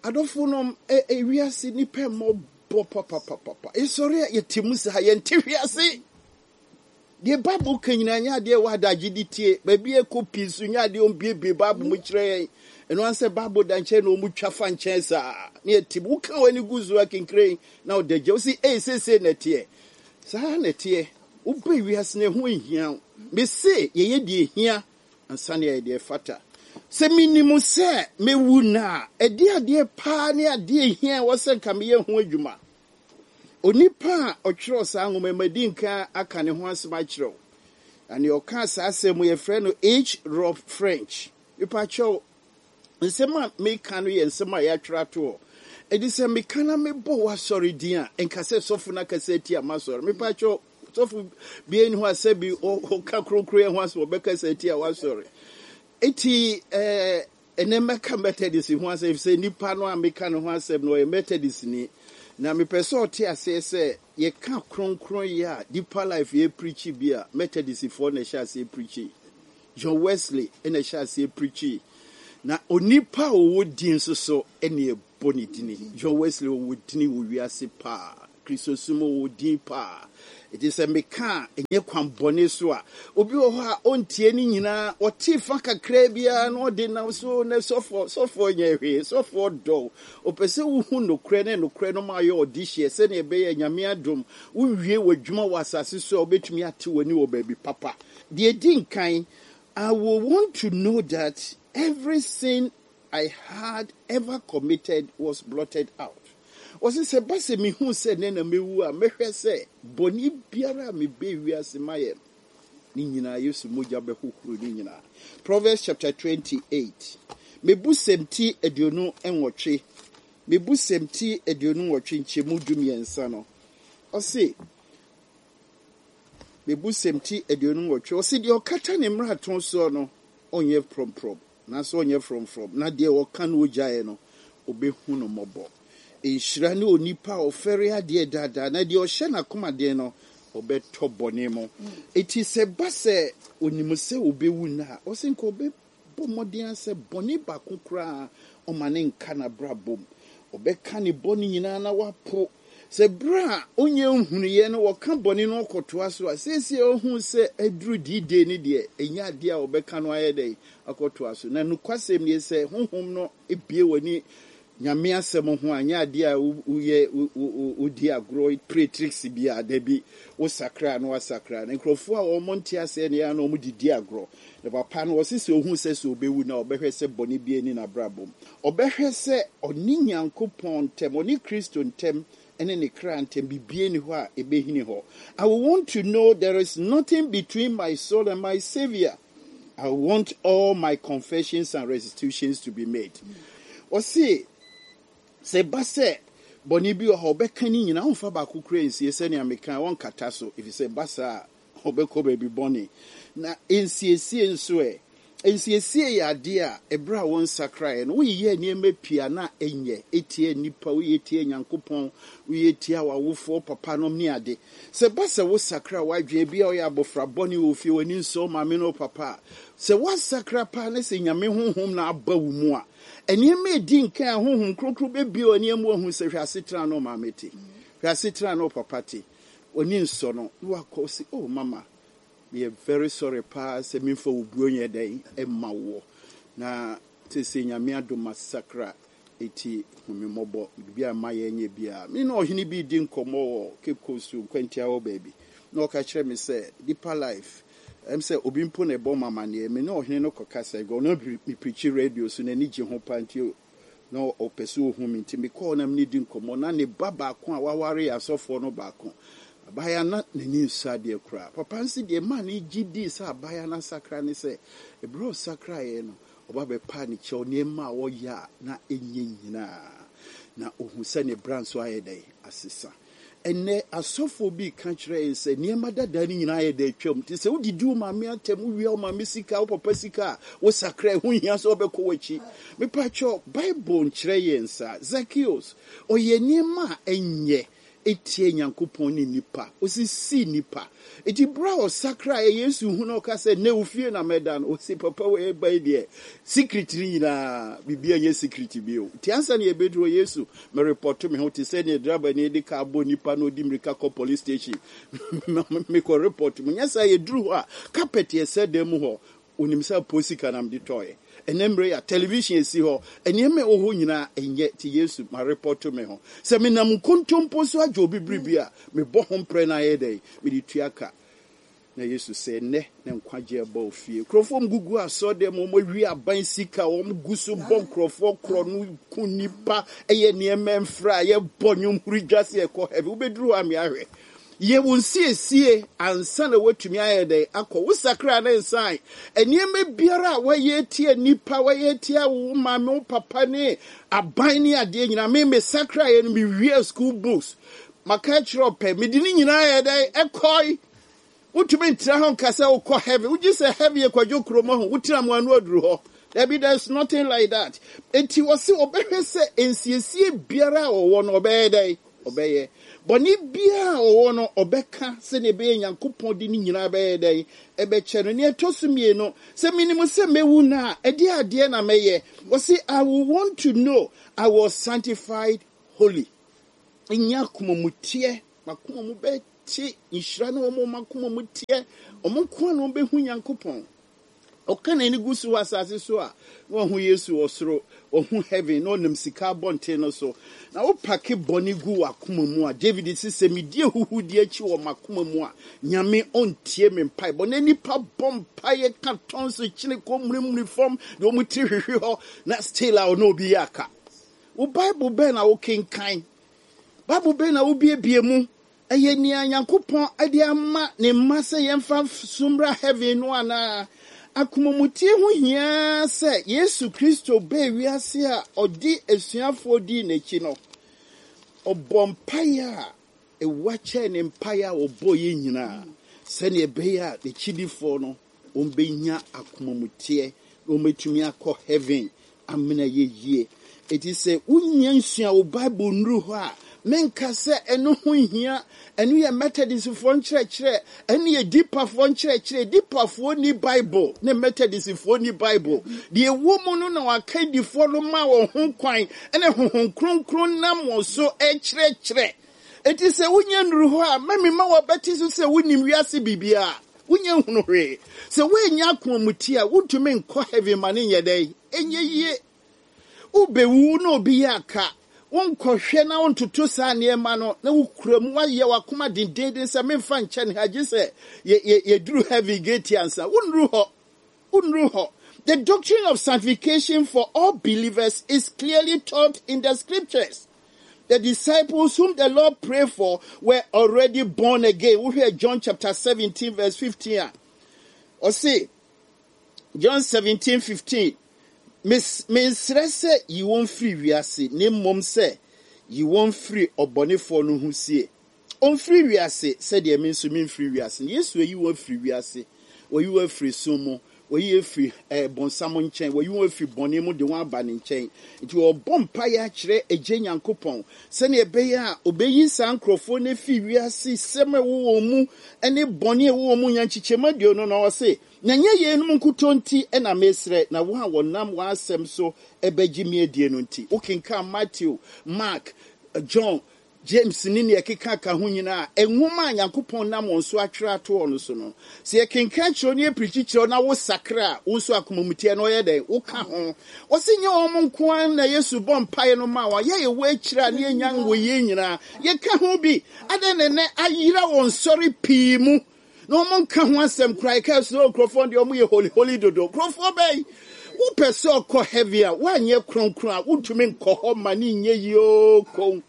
Adɔfo nom, ewiase nnipa mmɔbɔ papapapapa. Yɛsɔre a yɛte mu saa, yɛnte hwe ase. Deɛ Bible ka nyinaa nyɛ adeɛ ɛwɔ adagye de tie. Baabi a ɛkɔ pii so nyɛ adeɛ ɔmbiebie Bible mu kyerɛ yɛn. Ɛno ara sɛ Bible da nkyɛn na wɔn twa fa nkyɛn saa. Ne ɛte mu. Woka w'ani gu so akenkren na ɔda gya. Wosi ee seesei na ɛteɛ. Saa na ɛteɛ. Wobɛ wiase no ɛho nhia wo. Mese yɛyɛ deɛ ɛhia ansa na yɛayɛ deɛ ɛfata. Sɛ menim sɛ mɛwu nnɛ a, ɛdeɛ adeɛ paa ne adeɛ ɛhia ɛwɔ sɛ nka meyɛ ho adwuma. Onipa a ɔtwerɛɛ saa nwoma yi, madi nkan aka ne ho asɛm akyerɛ wo. Na nea ɔkaa saa asɛm yi, yɛfrɛ no H. Rob French. Mepakyɛw, nsɛm a meka no yɛ nsɛm a yɛatwerɛ ato hɔ. Enti sɛ meka na mebɔ w'asɔre din a, nka sɛ sɔfo no akasa atia m'asɔre. Mepakyɛw, sɔfo biara nni hɔ a sɛbi ɔka kronkronyɛ ho asɛm ɔbɛkasa atia w'asɔre. Enti ɛɛ. Ɛnnɛ mɛka Methodist ho asɛm efisɛ nipa no a meka ne ho asɛm no ɔyɛ Methodistni. Na mepɛ sɛ ɔte aseɛ sɛ yɛka kronkronyɛ a Deeper Life yɛ preachi bi a Methodistfoɔ na ɛhyɛ aseɛ preachi. John Wesley na ɛhyɛ aseɛ preachii. Na onipa a ɔwɔ din nso so na ɛbɔ ne dini. John Wesley ɔwɔ dini wɔ wiase paa. Kristosom ɔwɔ din paa. Enti sɛ meka a, ɛnyɛ kwan bɔne so a. Obi wɔ hɔ a ɔntie ne nyinaa, ɔte fa kakraa biara na ɔde nam so na sɔfoɔ, sɔfoɔ nyɛ hwee, sɔfoɔ dɔ wo. Ɔpɛ sɛ wohu nokorɛ na nokorɛ no ma ayɛ ɔdehyeɛ sɛdeɛ ɛbɛyɛ Nyame adom wowie w'adwuma wɔ asase so a wobɛtumi ate w'ani wɔ baabi papa. Deɛ ɛdi nkan, I will want to know that every sin I had ever committed was blotted out. Ɔse sɛ ɛba sɛ mehu sɛ nnɛ na mɛwu a, mɛhwɛ sɛ bɔne biara a mebɛɛ wiase mayɛ no, ne nyinaa Yesu mogya bɛhohoro ne nyinaa. Proverbs chapter 28, Mebusɛm ti 28, Mebusɛm ti 28 nkyɛmu 13 no, ɔse, Mebusɛm ti 28, ɔse deɛ ɔkata ne mmarato soɔ no, ɔnyɛ prɔmprɔm. Nanso ɔnyɛ frɔmfrɔm, na deɛ ɔka na ɔgyaeɛ no, ɔbɛhu no mmɔbɔ. Nhyira ne onipa a ɔfɛre adeɛ daadaa, na deɛ ɔhyɛ n'akoma den no, ɔbɛtɔ bɔne mu. Enti sɛ ɛba sɛ ɔnim sɛ ɔbɛwu nnɛ a, ɔse nka ɔbɛbɔ mmɔden ara sɛ bɔne baako koraa ɔmma no nka n'abrabɔ mu. Ɔbɛka ne bɔne nyinaa na wapo. Sɛ berɛ a ɔnnya nhunuiɛ no ɔka bɔne no ɔkɔtoa so a, seesei a ɔhu sɛ aduru D-Day no deɛ, ɛnyɛ adeɛ a ɔbɛka no ayɛ dɛn akɔtoa so. Na nokwasɛm nie, sɛ Honhom no bue w'ani Nyame asɛm ho a, ɛnyɛ adeɛ a woyɛ wodi agorɔ play tricks biara, dabi, wosakra a na wasakra. Na nkurɔfoɔ a wɔn nte aseɛ no yɛ a na wɔn de di agorɔ. Na papa no, ɔse sɛ ɔhu sɛ sɛ ɔbɛwu no a, ɔbɛhwɛ sɛ bɔne biara nni n'abrabɔ mu. Ɔbɛhwɛ sɛ ɔne Nyankopɔn ntam, ɔne Kristo ntam, ne ne kra ntam, biribiara nni hɔ a ɛbɛhini hɔ. I will want to know there is nothing between my soul and my Saviour. I want all my confessions and restitutions to be made. Ɔse, sɛ ɛba sɛ bɔne bi wɔ hɔ a, ɔbɛka ne nyinaa, ɔmfa baako koraa nsie, sɛnea mekae, ɔnkata so, efisɛ ɛba saa a, Ɔbɛkɔ baabi bɔne. Na nsiesie nso ɛ? Nsiesie yɛ adeɛ a ɛberɛ a wonsakraeɛ no, woyeyɛɛ nneɛma pii a na ɛnyɛ, ɛtia nnipa, woyɛ tia Nyankopɔn, woyɛ tia w'awofoɔ, papanom ne ade. Sɛ ɛba sɛ wosakra w'adwene, ebia woyɛ abɔfra bɔne wɔ fie, w'ani nsɔ wo maame ne wo papa a, sɛ woasakra paa na sɛ Nyame Honhom na aba wo mu a, nneɛma a ɛdi nkan a Honhom Kronkron bɛbue w'ani ama woahu sɛ hwɛ asetena a na wo maame te, hwɛ asetena a na wo papa te, W'ani nsɔ no na wakɔ ɔse oh mama meyɛ very sorry paa sɛ memfa obuo nyɛ dɛn mma woɔ na seesei Nyame adom masakra eti hu me mmɔbɔ biribi a mayɛ nyɛ biaa. Me ne ɔhene bi redi nkɔmmɔ wɔ Cape Coast Nkwantia hɔ baabi na ɔka kyerɛ me sɛ Deeper Life ɛm sɛ obi mpo na ɛbɔ m'amaneɛ me ne ɔhene no kɔkasa ɔno me preachi radio so n'ani gye ho paa nti Na ɔpɛ sɛ ɔhu me, nti mekɔɔ na me ne di nkɔmmɔ. Na ne ba baako a waware yɛ asɔfoɔ no baako. Abaayewa no, na n'ani nsɔ adeɛ koraa. Papa no se deɛ ɛmaa no gye dii sɛ abaayewa no asakra ne sɛ, berɛ a ɔsakraeɛ no, ɔba bɛpaa ne kyɛw, nneɛma a ɔyɛ a na ɛnyɛ nyinaa. Na ɔhu sɛ ne bra nso ayɛ dɛn? Asesa. Ɛnnɛ, asɔfoɔ bi reka kyerɛ yɛn sɛ nneɛma dada no nyinaa ayɛ dɛ atwam. Nti sɛ wodidi wo maame atɛm, wowia wo maame sika, wo papa sika a, wosakra. Ɛho nhia sɛ wobɛkɔ w'akyi. Mepakyɛw, Bible nkyerɛ yɛn saa. Zakeus, ɔyɛɛ nneɛma a ɛnyɛ tia Nyankopɔn ne nnipa. Osisii nnipa. Enti bere a ɔsakraeɛ, Yesu hu no ɔka sɛ, Nnɛ wo fie na mɛda no. Ɔse, Papa wei ɛba yi deɛ, secret no nyinaa, biribiara nyɛ secret bio. Nti ansa na yɛbɛduru hɔ, Yesu, merepɔto me ho te sɛ nea drabani de kaa bɔ nipa na ɔdi mmirika kɔ police station. Mekɔ report mu. Nyɛ saa, yɛduru hɔ a, carpet yɛ sɛ dan mu hɔ. Onim sɛ apo sika na mede tɔeɛ. Ɛnnɛ mmerɛ yi a television si hɔ, nneɛma a ɛwɔ hɔ nyinaa ɛnyɛ nti Yesu marepɔto me ho. Sɛ menam nkontompo so agye obi biribi a, mebɔ ho mprɛ na ayɛ dɛn? Mede tua ka. Na Yesu sɛ, Ɛnnɛ na nkwagyeɛ aba wo fie. Nkurɔfoɔ a wɔgugu asɔredan mu, wɔawie aban sika, wɔgu so bɔ nkurɔfoɔ korɔno, ku nnipa, yɛ nneɛma mfra, yɛbɔ nnwom huri dwa sɛ yɛkɔ heaven. Wobɛduru hɔ a me ahwɛ. Yɛ wo nsiesie ansa na woatumi ayɛ dɛn akɔ. Wo sakra ne nsan. Nneɛma biara a woayɛ atia nnipa, woayɛ atia wo maame, wo papa ne aban ne adeɛ nyinaa. Me me sakraeɛ no, mewiaa school books. Maka akyerɛ ɔpɛ, mede ne nyinaa yɛ dɛn ɛkɔe. Wotumi ntra hɔ nka sɛ wokɔ heaven. Wogye sɛ heaven yɛ kwadwo kurom ho. Wotena mu ano aduru hɔ. Dabi, there is nothing like that. Enti wɔse wɔbɛhwɛ sɛ nsiesie biara a wɔwɔ no wɔbɛyɛ dɛn? Ɔbɛyɛ. Bɔne biara a ɔwɔ no, ɔbɛka sɛnea ɛbɛyɛ Nyankopɔn de ne nyinaa bɛyɛ dɛn? Ɛbɛkyɛ no. Nea ɛtɔ so mmienu, sɛ menim sɛ mɛwu no a, ɛdeɛ adeɛ na mɛyɛ? Ɔse, I will want to know I was sanctified holy. Nya akoma mu teɛ, m'akoma mu bɛte nhyira ne wɔn a wɔn akoma mu teɛ, wɔn nko ara na wɔbɛhu Nyankopɔn. Ɔka n'ani gu so wɔ asase so a, na wahu Yesu wɔ soro, wahu heaven, na ɔnam sika abɔnten no so. Na wopake bɔne gu w'akoma mu a, David se, sɛ medi ahuhudeɛ akyi wɔ m'akoma mu a, Nyame ɔntie me mpaebɔ. Na nnipa bɔ mpaeɛ ka tɔnso kyene kɔ mmurimuri fam, de wɔn tiri hwehwe hɔ, na still a ɔne obi yɛ aka. Wo Bible bɛn na wokenkan? Bible bɛn na wobiebie mu? Ɛyɛ nea Nyankopɔn de ama ne mma sɛ yɛmfa so mmra heaven no anaa? Akomamutie ho hia sɛ Yesu Kristo baa wiase a ɔde asuafoɔ dii n'akyi no, ɔbɔɔ mpaeɛ a ɛwa kyɛɛ ne mpaeɛ a ɔbɔeɛ nyinaa sɛdeɛ ɛbɛyɛ a n'akyidifoɔ no wɔbɛnya akomamuteɛ na wɔatumi akɔ heaven amena yɛ yie. Enti sɛ wonnya nsua wo Bible nnuru hɔ a, menka sɛ ɛno ho nhia. Ɛno yɛ Methodistfoɔ nkyerɛkyerɛ, ɛno yɛ Deeperfoɔ nkyerɛkyerɛ. Deeperfoɔ nni Bible, ne Methodistfoɔ nni Bible. Deɛ ɛwɔ mu no na wɔakandifoɔ no maa wɔn ho kwan, ɛne Honhom Kronkron nam wɔn so rekyerɛkyerɛ. Enti sɛ wonya nnuru hɔ a, mma mma wɔbɛte so sɛ wonim wiase biribiara. Wonya nhunu hwee. Sɛ woannya akomamuteɛ a, wontumi nkɔ heaven ma no nyɛ dɛn? Ɛnyɛ yie. Wobɛwu na obi yɛ aka. Wonkɔhwɛ na wontoto saa nneɛma no na wokura mu. Woayɛ w'akoma dendeenden sɛ memfa nkyɛ ne ha gye sɛ yɛduru heaven gate ansa. Wonnuru hɔ. Wonnuru hɔ. The doctrine of sanctification for all believers is clearly taught in the scriptures. The disciples whom the Lord prayed for were already born again. Wohwɛ John chapter 17 verse 15 a, ɔse, John 17 15, Mensrɛ sɛ yi wɔn firi wiase, na mmom sɛ yi wɔn firi ɔbɔnefoɔ no ho sie. Ɔmfiri wiase sɛdeɛ me nso memfiri wiase no. Yesu ayi wɔn afiri wiase. Wayi wɔn afiri sum mu. Wayi wɔn afiri eh, bonsam nkyɛn. Wayi wɔn afiri bɔne mu de wɔn aba ne nkyɛn. Nti ɔrebɔ mpaeɛ akyerɛ Agya Nyankopɔn sɛdeɛ ɛbɛyɛ a ɔbɛyi saa nkurɔfoɔ no afiri wiase sɛm a ɛwɔ wɔn mu ne bɔne a ɛwɔ wɔn mu nya nkyekyɛmu aduonu no. Ɔse, na ɛnyɛ yeinom nkutoo nti na mesrɛ, na wɔn a wɔnam wɔn asɛm so bɛgye me adie no nti. Wokenkan Matthew, Mark, John, James ne nea ɛkeka ka ho nyinaa, nwoma a Nyankopɔn nam wɔn so atwerɛ ato hɔ no so no, sɛ yɛkenkan kyerɛ wo na yɛpirikyi kyerɛ wo na wosakra a, wo nso akomamuteɛ no ɔyɛ dɛn? Woka ho. Ɔse nyɛ wɔn nko ara na Yesu bɔ mpaeɛ no maa wɔn, yɛ yɛwɔ akyire a na yɛnya nwɔ yie nyinaa, yɛka ho bi. Adɛn na ɛnnɛ ayera wɔ nsɔre pii mu na wɔn nka ho asɛm koraa? Yɛka sɛ oh, nkurɔfoɔ deɛ wɔn yɛ holy holy dodo. Nkurɔfoɔ bɛn? Wopɛ sɛ ɔkɔ heaven a, woanyɛ kronkron a, wontumi nkɔ hɔ ma ne nyɛ yie oo komm.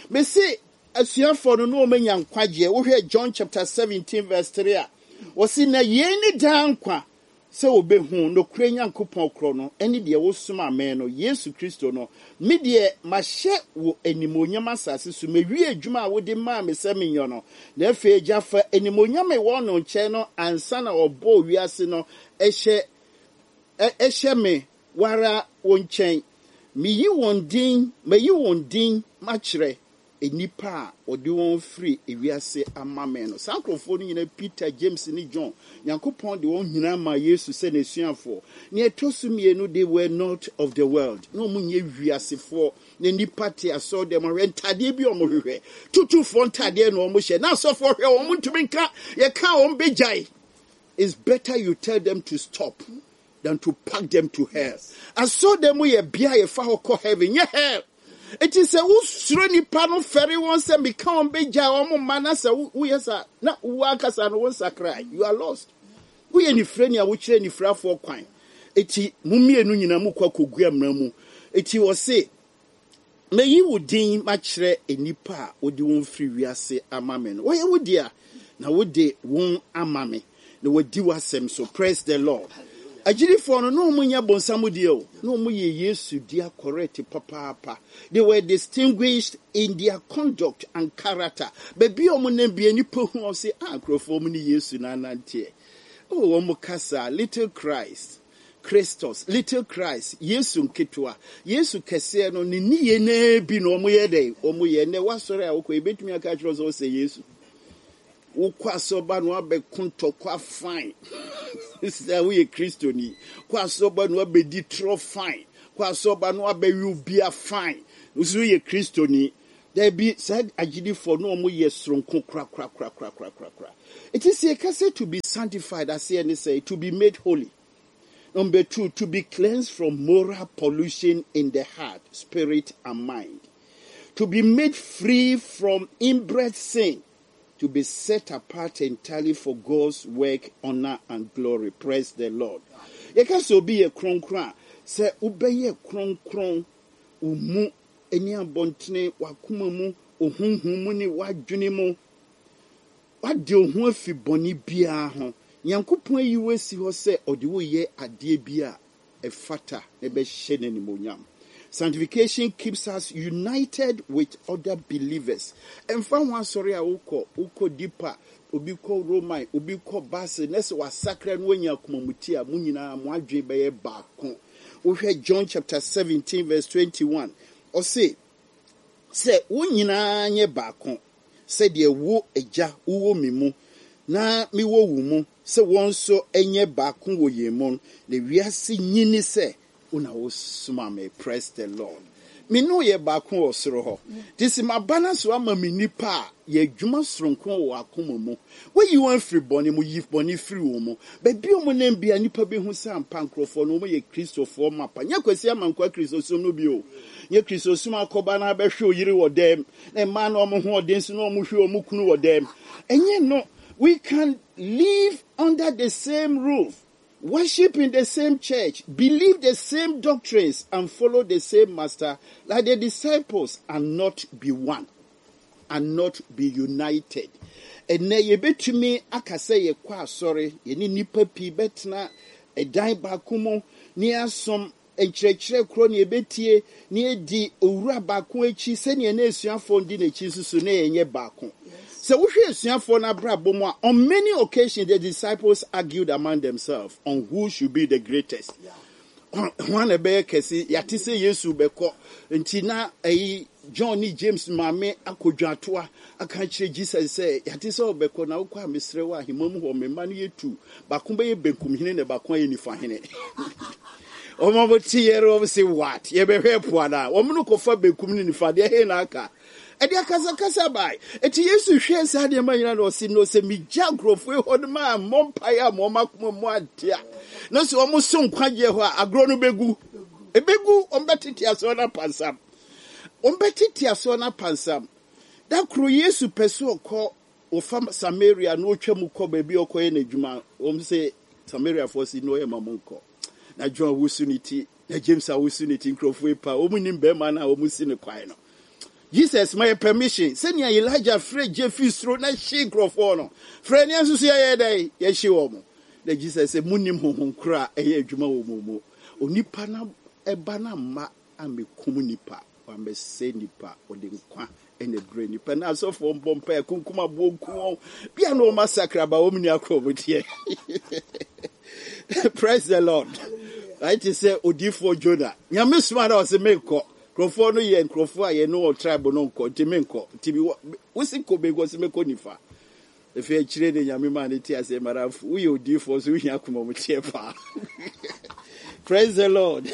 Mese asuafoɔ no na wɔn anya nkwagyeɛ. Wohwɛ John chapter 17 verse 3 a, wɔse na yei ne daa nkwa, sɛ wɔbɛhu nokorɛ Nyankopɔn korɔ no ne deɛ wosomaa me no, Yesu Kristo no. Me deɛ, mahyɛ wo animuonyam asase so, mawie adwuma a wode maa me sɛ menyɔ no. Na afei, Agya, fa animuonyam a ɛwɔ no nkyɛn no ansa na wɔbɔɔ wiase no hyɛ, hyɛ me wo ara wo nkyɛn. Meyi wɔn din, mayi wɔn din makyerɛ nnipa a wɔde wɔn firi ewiase ama me no. Saa nkurɔfoɔ no nyinaa, Peter, James ne John, Nyankopɔn de wɔn nyinaa maa Yesu sɛ n'asuafoɔ. Nea ɛtɔ so mmienu, they were not of the world. Na wɔn nyɛ wiasefoɔ. Na nnipa te asɔredan mu ahwɛ ntadeɛ bi a wɔhwehwɛ. Tutufoɔ ntadeɛ na wɔhyɛ. Na asɔfoɔ hwɛ wɔn ntumi nka. Yɛka a wɔn bɛgyae. It's better you tell them to stop than to pack them to hell. Asɔredan mu yɛ bea a yɛfa hɔ kɔ heaven, nyɛ hell. Enti sɛ wosuro nnipa no, fɛre wɔn sɛ meka wɔn bɛgyae wɔn mma na sɛ woyɛ saa na wo ankasa no wo nsakrae. You are lost. Woyɛ nifirani a wokyerɛ nifirafoɔ kwan. Enti mo mmienu nyinaa mokɔ akɔgu amena mu. Enti ɔse, Meyi wo din makyerɛ nnipa a wode wɔn firi wiase ama me no. Wɔyɛ wo dea, na wode wɔn ama me, na wɔadi w'asɛm so. Praise the Lord. Agyidifoɔ no, na wɔn nyɛ bonsam deɛ o, na wɔn yɛ Yesu dea correct papaapa. They were distinguished in their conduct and character. Baabi a wɔn nam bia nnipa hu wɔn se, ah, nkurɔfoɔ wɔn ne Yesu na ananteɛ. Oh, wɔn kasa, little Christ. Christos, little Christ, Yesu nketewa, Yesu kɛseɛ no, ne nneyɛɛ no ara bi na wɔyɛ dɛn? Wɔyɛ. Ɛnnɛ, w'asɔre a wokɔ, yɛbɛtumi aka akyerɛ wo sɛ wosɛ Yesu. Wokɔ asɔreba na wabɛko ntɔkwa fine. Sɛ woyɛ Kristoni. Kɔ asɔreba na wabɛdi torɔ fine. Kɔ asɔreba na wabɛwe obia fine. Wo nso woyɛ Kristoni. Dabi, saa agyidifoɔ no wɔn yɛ soronko korakorakorakorakorakora. Eti sɛ yɛka sɛ to be sanctified aseɛ ne sɛ to be made holy. Number two, to be cleansed from moral pollution in the heart, spirit, and mind. To be made free from inbred sin. To be set apart entirely for God's work, honor, and glory. Praise the Lord. Yɛka sɛ obi yɛ kronkron a, sɛ wobɛyɛ kronkron wo mu ne abɔntene, w'akoma mu, wo honhom mu ne w'adwene mu. Woade wo ho afi bɔne biara ho. Nyankopɔn ayi wo asi hɔ sɛ ɔde wo reyɛ adeɛ bi a ɛfata na ɛbɛhyɛ no animuonyam. Sanctification keeps us united with other believers. Ɛmfa ho asɔre a wokɔ, wokɔ Deeper, obi kɔ Roman, obi kɔ Basel, na sɛ wasakra na wanya akomamuti a, mo nyinaa mo adwene bɛyɛ baako. Wohwɛ John chapter 17 verse 21, ɔse, Sɛ wɔn nyinaa nyɛ baako, sɛdeɛ wo, Agya, wowɔ me mu, na mewɔ wo mu, sɛ wɔn nso nyɛ baako wɔ yɛn mu, na wiase nyi nni sɛ wo na wosomaa me. Praise the Lord. Me ne wo yɛ baako wɔ soro hɔ. Nti sɛ maba no so ama me nnipa a, yɛ adwuma soronko wɔ wɔn akoma mu. Woayi wɔn afiri bɔne mu, yi bɔne firi wɔn mu. Baabi a wɔnam biara, nnipa bɛhu sɛ ampa nkurɔfoɔ no, wɔyɛ Kristofoɔ mapa. Nyɛ Kwasi Amankwaa Kristosom no bi o. Nyɛ Kristosom akɔba na abɛhwe oyere wɔ dɛm, na mmaa no wɔn ho ɔden so na wɔhwe wɔn kunu wɔ dɛm. Ɛnyɛ no. We can live under the same roof, worship in the same church, believe the same doctrines, and follow the same master like the disciples and not be one and not be united. Ɛnɛ yɛbɛtumi aka sɛ yɛkɔ asɔre, yɛne nnipa pii bɛtena ɛdan baako mu ne asom Nkyerɛkyerɛ korɔ na yɛbɛtie na yɛadi Owura baako akyi sɛdeɛ na asuafoɔ no di n'akyi nso so na yɛnyɛ baako. Sɛ wohwɛ asuafoɔ no abrabɔ mu a, on many occasions the disciples argued among themselves on who should be the greatest. Hwan na ɛbɛyɛ kɛse? Yɛate sɛ Yesu bɛkɔ nti na ɛyi John ne James maame akɔ dwatoa aka akyerɛ Jesus sɛ, Yɛate sɛ wobɛkɔ, na wokɔ a mesrɛ wo ahemma mu hɔ, me mma no yɛ tu, baako bɛyɛ benkum hene na baako ayɛ nifa hene. Wɔn a wɔte yɛ no wɔn se what? Yɛbɛhwɛ po anaa? Wɔn no kɔfa benkum ne nifa deɛ he na aka? Ɛde akasakasa bae. Eti Yesu hwɛɛ saa nneɛma nyinaa na ɔse no sɛ megya nkurɔfoɔ yi hɔ no ma mmɔ mpaeɛ a ma wɔn akoma mu ante a, na sɛ wɔn so nkwagyeɛ hɔ a agorɔ no bɛgu. Ɛbɛgu, wɔn bɛtete asoɔ no apansam. Wɔbɛtete asoɔ no apansam. Da koro Yesu pɛ sɛ ɔkɔ ɔfa Samaria na ɔtwa mu kɔ baabi a ɔkɔyɛ n'adwuma. Wɔn sɛ Samariafoɔ si na ɔyɛ ma mo nkɔ. Na John awosu ne ti, na James awosu ne ti, nkurɔfoɔ yi pa, wɔn nim bɛrima no a wɔn si no kwan no. Jesus ma yɛ permission sɛnea Elijah frɛ gye fi soro na hye nkurɔfoɔ no. Frɛ nea nso so yɛyɛ dɛn? Yɛhye wɔn. Na Jesus sɛ monim honhom koro a ɛyɛ adwuma wɔ mo mu. Onipa no ɛba no amma ammɛkum nnipa, wammɛsɛe nnipa, ɔde nkwa na ɛbrɛ nnipa. Na asɔfoɔ mbɔ mpaeɛ, kunkum aboɔ nku wɔn, bia na wɔn asakra ba wɔn ni akɔ wɔn deɛ. Praise the Lord. Ayɛ te sɛ odiifoɔ Jonah. Nyame soma na ɔse menkɔ. Nkurɔfoɔ no yɛ nkurɔfoɔ a yɛne wɔn tribe no nkɔ, nti menkɔ. Nti wosi kɔ bɛnkɔ, ɔse mɛkɔ nifa. Afei akyire de Nyame maa no te aseɛ madamfo woyɛ odiifoɔ nso wohia akoma mu teɛ paa. Praise the Lord.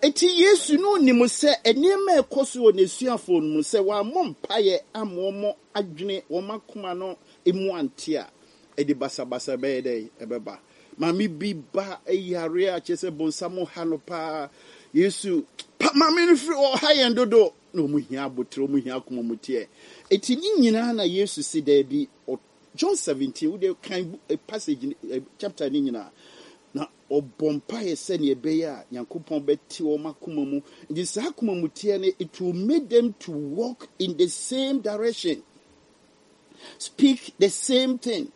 Eti Yesu no nim sɛ nneɛma a ɛkɔ so wɔ n'asuafoɔ no mu sɛ wɔammɔ mpaeɛ amma wɔn adwene wɔn akoma no mu ante a ɛde basabasa bɛyɛ dɛn ɛbɛba. Maame bi ba yare a kyerɛ sɛ bonsam ha no paa. Yesu pa maame no firi ɔha yɛn dodo. Na wɔn hia aboterɛ, wɔn hia akoma mu teɛ. Eti ne nyinaa na Yesu se daabi. John 17, wo deɛ kan eh, passage eh, chapter ne nyinaa. Na ɔbɔ mpaeɛ sɛnea ɛbɛyɛ a Nyankopɔn bɛte wɔn akoma mu. Nti saa akoma mu teɛ no, it will make them to walk in the same direction, speak the same thing,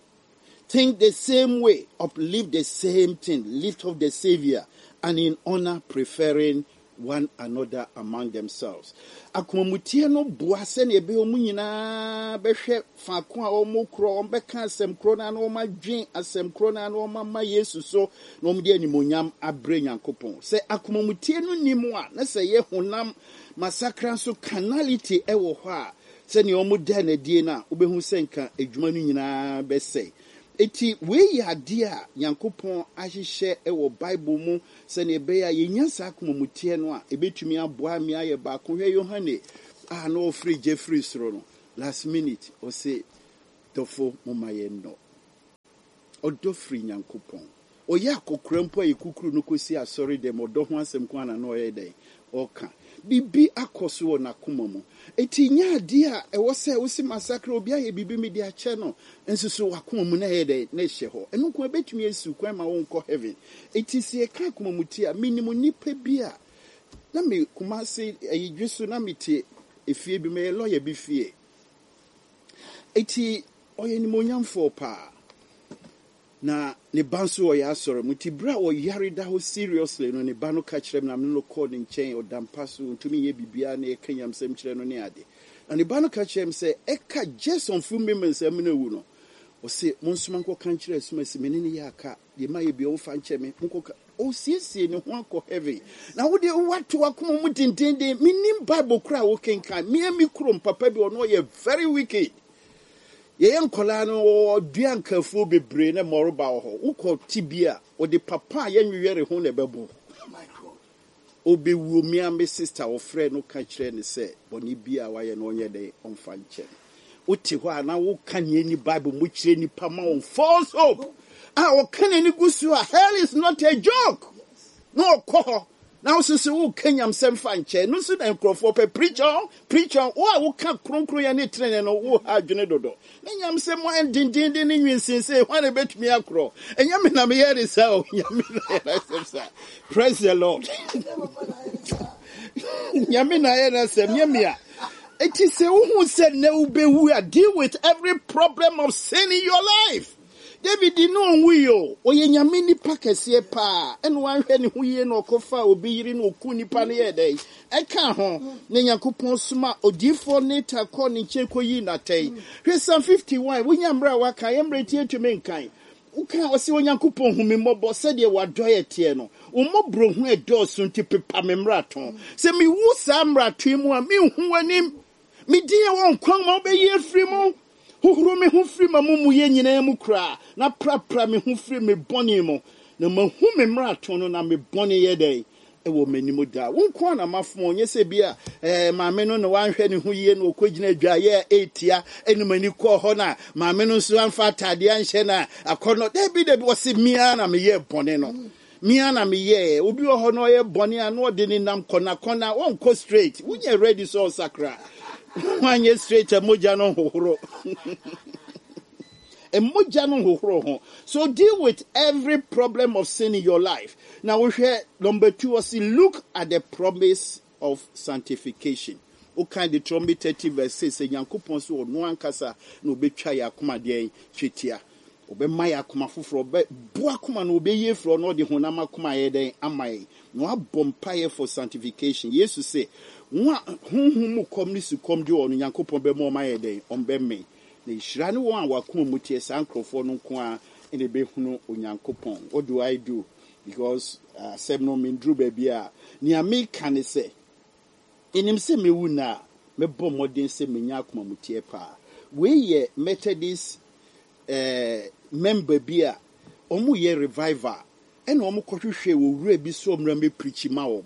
think the same way, uplift the same thing, lift up the Savior, and in honor preferring one another among themselves. Akomamuteɛ no boa sɛnea ɛbɛyɛ wɔn nyinaa bɛhwɛ faako a wɔkorɔ, wɔbɛka asɛm korɔ no ara na wɔadwen asɛm korɔ no ara na wɔama Yesu so na wɔde animuonyam abrɛ Nyankopɔn. Sɛ akomamuteɛ no nni mu a, na sɛ ɛyɛ honam masakra nso carnality wɔ hɔ a, sɛnea wɔda no adie no a, wobɛhu sɛ nka adwuma no nyinaa bɛsɛe. Enti wei yɛ adeɛ a Nyankopɔn ahyehyɛ wɔ Bible mu sɛnea ɛbɛyɛ a yɛnya saa akomamuteɛ no a, ɛbɛtumi aboa me ayɛ baako. Hwɛ Yohane a na ɔfiri gya firi soro no, last minute ɔse, Dɔfo momma yɛnnɔ. Ɔdɔ firi Nyankopɔn. Ɔyɛ akɔkora mpo a yɛkukuru no kɔsi asɔre dɛm, ɔdɔ ho asɛm nko ara na na ɔyɛ dɛn? Ɔka. Biribi akɔ so wɔ n'akoma mu. Enti nyɛ adeɛ a ɛwɔ sɛ wose masakra, obi ayɛ biribi mede akyɛ no, nso so w'akoma mu na ɛyɛ dɛn? Na ɛhyɛ hɔ. Ɛno nko ara bɛtumi asi wo kwan ma wonkɔ heaven. Enti sɛ yɛka akoma mu te a, menim nnipa bi a na me Kumasi ayidwe so na mete efie bi, meyɛ lawyer bi fie. Enti ɔyɛ animuonyamfoɔ paa. Na ne ba nso ɔyɛ asɔre mu nti berɛ a ɔyare da hɔ seriously no ne ba no ka kyerɛ me na me ne no kɔɔ ne nkyɛn ɔda mpa so ɔntumi nyɛ biribiara na yɛka nyamsɛm kyerɛ no ne ade na ne ba no ka kyerɛ me sɛ ɛka just some few moments a mene awu no ɔse monsoma nkɔka nkyerɛ asumasi me ne no yɛ aka deɛ mayɛ bia ɔmfa nkyɛ me monkɔka ɔsiesie ne ho akɔ heaven na wo deɛ woato akoma mu dendenden menim bible koraa wokenkan mea me kurom papa bi ɔno ɔyɛ very wicked Yɛyɛ nkwadaa no, wɔdua nkafuo bebree na mmɔreba wɔ hɔ. Wokɔ te bi a, wɔde papa a yɛnwewɛre ho na ɛbɛbɔ. Ɔbɛwuo, me ara me sista wɔfrɛɛ no ka kyerɛɛ no sɛ bɔne bi a wayɛ no ɔnyɛ dɛn ɔmfa nkyɛ no. Wote hɔ a na woka nea ɛnni Bible mu kyerɛ nnipa ma wɔn false hope a ɔka n'ani gu so a hell is not a joke na ɔkɔ hɔ Na wo nso woka nyamsɛm fa nkyɛn. No nso na nkurɔfoɔ pɛ. Preach on, preach on. Wo a woka kronkronyɛ ne tenenee no, wo ha adwene dodo. Ne nyamsɛm ayɛ dendenden ne nwinsensee. Hwan na ɛbɛtumi akorɔ? Ɛnyɛ me na meyɛ ne saa o. Nyame na yɛ n'asɛm saa. Praise the Lord. Nyame na ayɛ n'asɛm, nyɛ me a. Eti sɛ wohu sɛ nnɛ wobɛwu a, deal with every problem of sin in your life. David no ɔnwui o, ɔyɛ Nyame nipa kɛseɛ paa, ɛna wanhwɛ ne ho yie na ɔkɔfaa obi yere na ɔkuu nipa no yɛɛ dɛn? Ɛkaa ho, na Nyankopɔn soma odiyifoɔ Nathan kɔɔ ne nkyɛn kɔyii no atɛn. Hwɛ Psalm 51, wonya mmerɛ a woaka, yɛ mmerɛ nti yɛntumi nkan. Woka a, ɔse, Onyankopɔn hu me mmɔbɔ sɛdeɛ w'adɔeɛ teɛ no, wo mmɔborɔhunu a ɛdɔɔso nti pepa me mmarato. Sɛ mewu saa mmarato yi mu a, menhu w'anim. Me din a ɛwɔ nkwa nwoma wobɛyi afiri mu. Hohoro me ho firi m'amumuyɛ nyinaa mu koraa, na prapra me ho firi me bɔne mu. Na mahu me mmarato no, na me bɔne yɛ dɛn? Ɛwɔ m'anim daa. Wo nko ara na mafom wo, nyɛ sɛ bi a eh, maame no na wanhwɛ ne ho yie na ɔkɔgyina adwaeɛ a ɛretia ɛne m'ani kɔɔ hɔ na maame no nso amfa ataadeɛ anhyɛ na akɔnnɔ. Dabi, dabi, ɔse me ara na meyɛɛ bɔne no. Me ara na meyɛɛ. Obi wɔ hɔ na ɔyɛ bɔne a na ɔde ne nam kɔnakɔna, ɔnkɔ straight. Wonyɛ ready sɛ ɔsakra. Woanyɛ straight a mogya no nhohoro. Mogya no nhohoro ho. So deal with every problem of sin in your life. Na wohwɛ number two, ɔse look at the promise of sanctification. Wokan Deuteronomy 30 verse 6 sɛ Nyankopɔn sɛ ɔno ankasa na ɔbɛtwa yɛn akoma deɛn twetia. Ɔbɛma yɛn akoma foforɔ, ɔbɛ bo akoma no ɔbɛyi afiri hɔ na ɔde honam akoma ayɛ dɛn ama yɛn. Na wabɔ mpaeɛ for sanctification. Yesu se, wɔn a honhom mu kɔm ne sukɔm de wɔn no, Nyankopɔn bɛma wɔn ayɛ dɛn? Wɔn bɛmee. Na nhyira ne wɔn a wɔn akoma mu teɛ, saa nkorɔfoɔ no nko ara na ɛbɛhunu Onyankopɔn. What do I do? Because asɛm no menduru baabi a, nea meka ne sɛ, Menim sɛ mɛwu nnɛ a, mɛbɔ mmɔden sɛ menya akomamuteɛ paa. Wei yɛ Methodist eh, member bi a wɔyɛ revival ɛna wɔkɔhwehwɛɛ owura bi sɛ ɔmmra mmɛprikyi ma wɔn.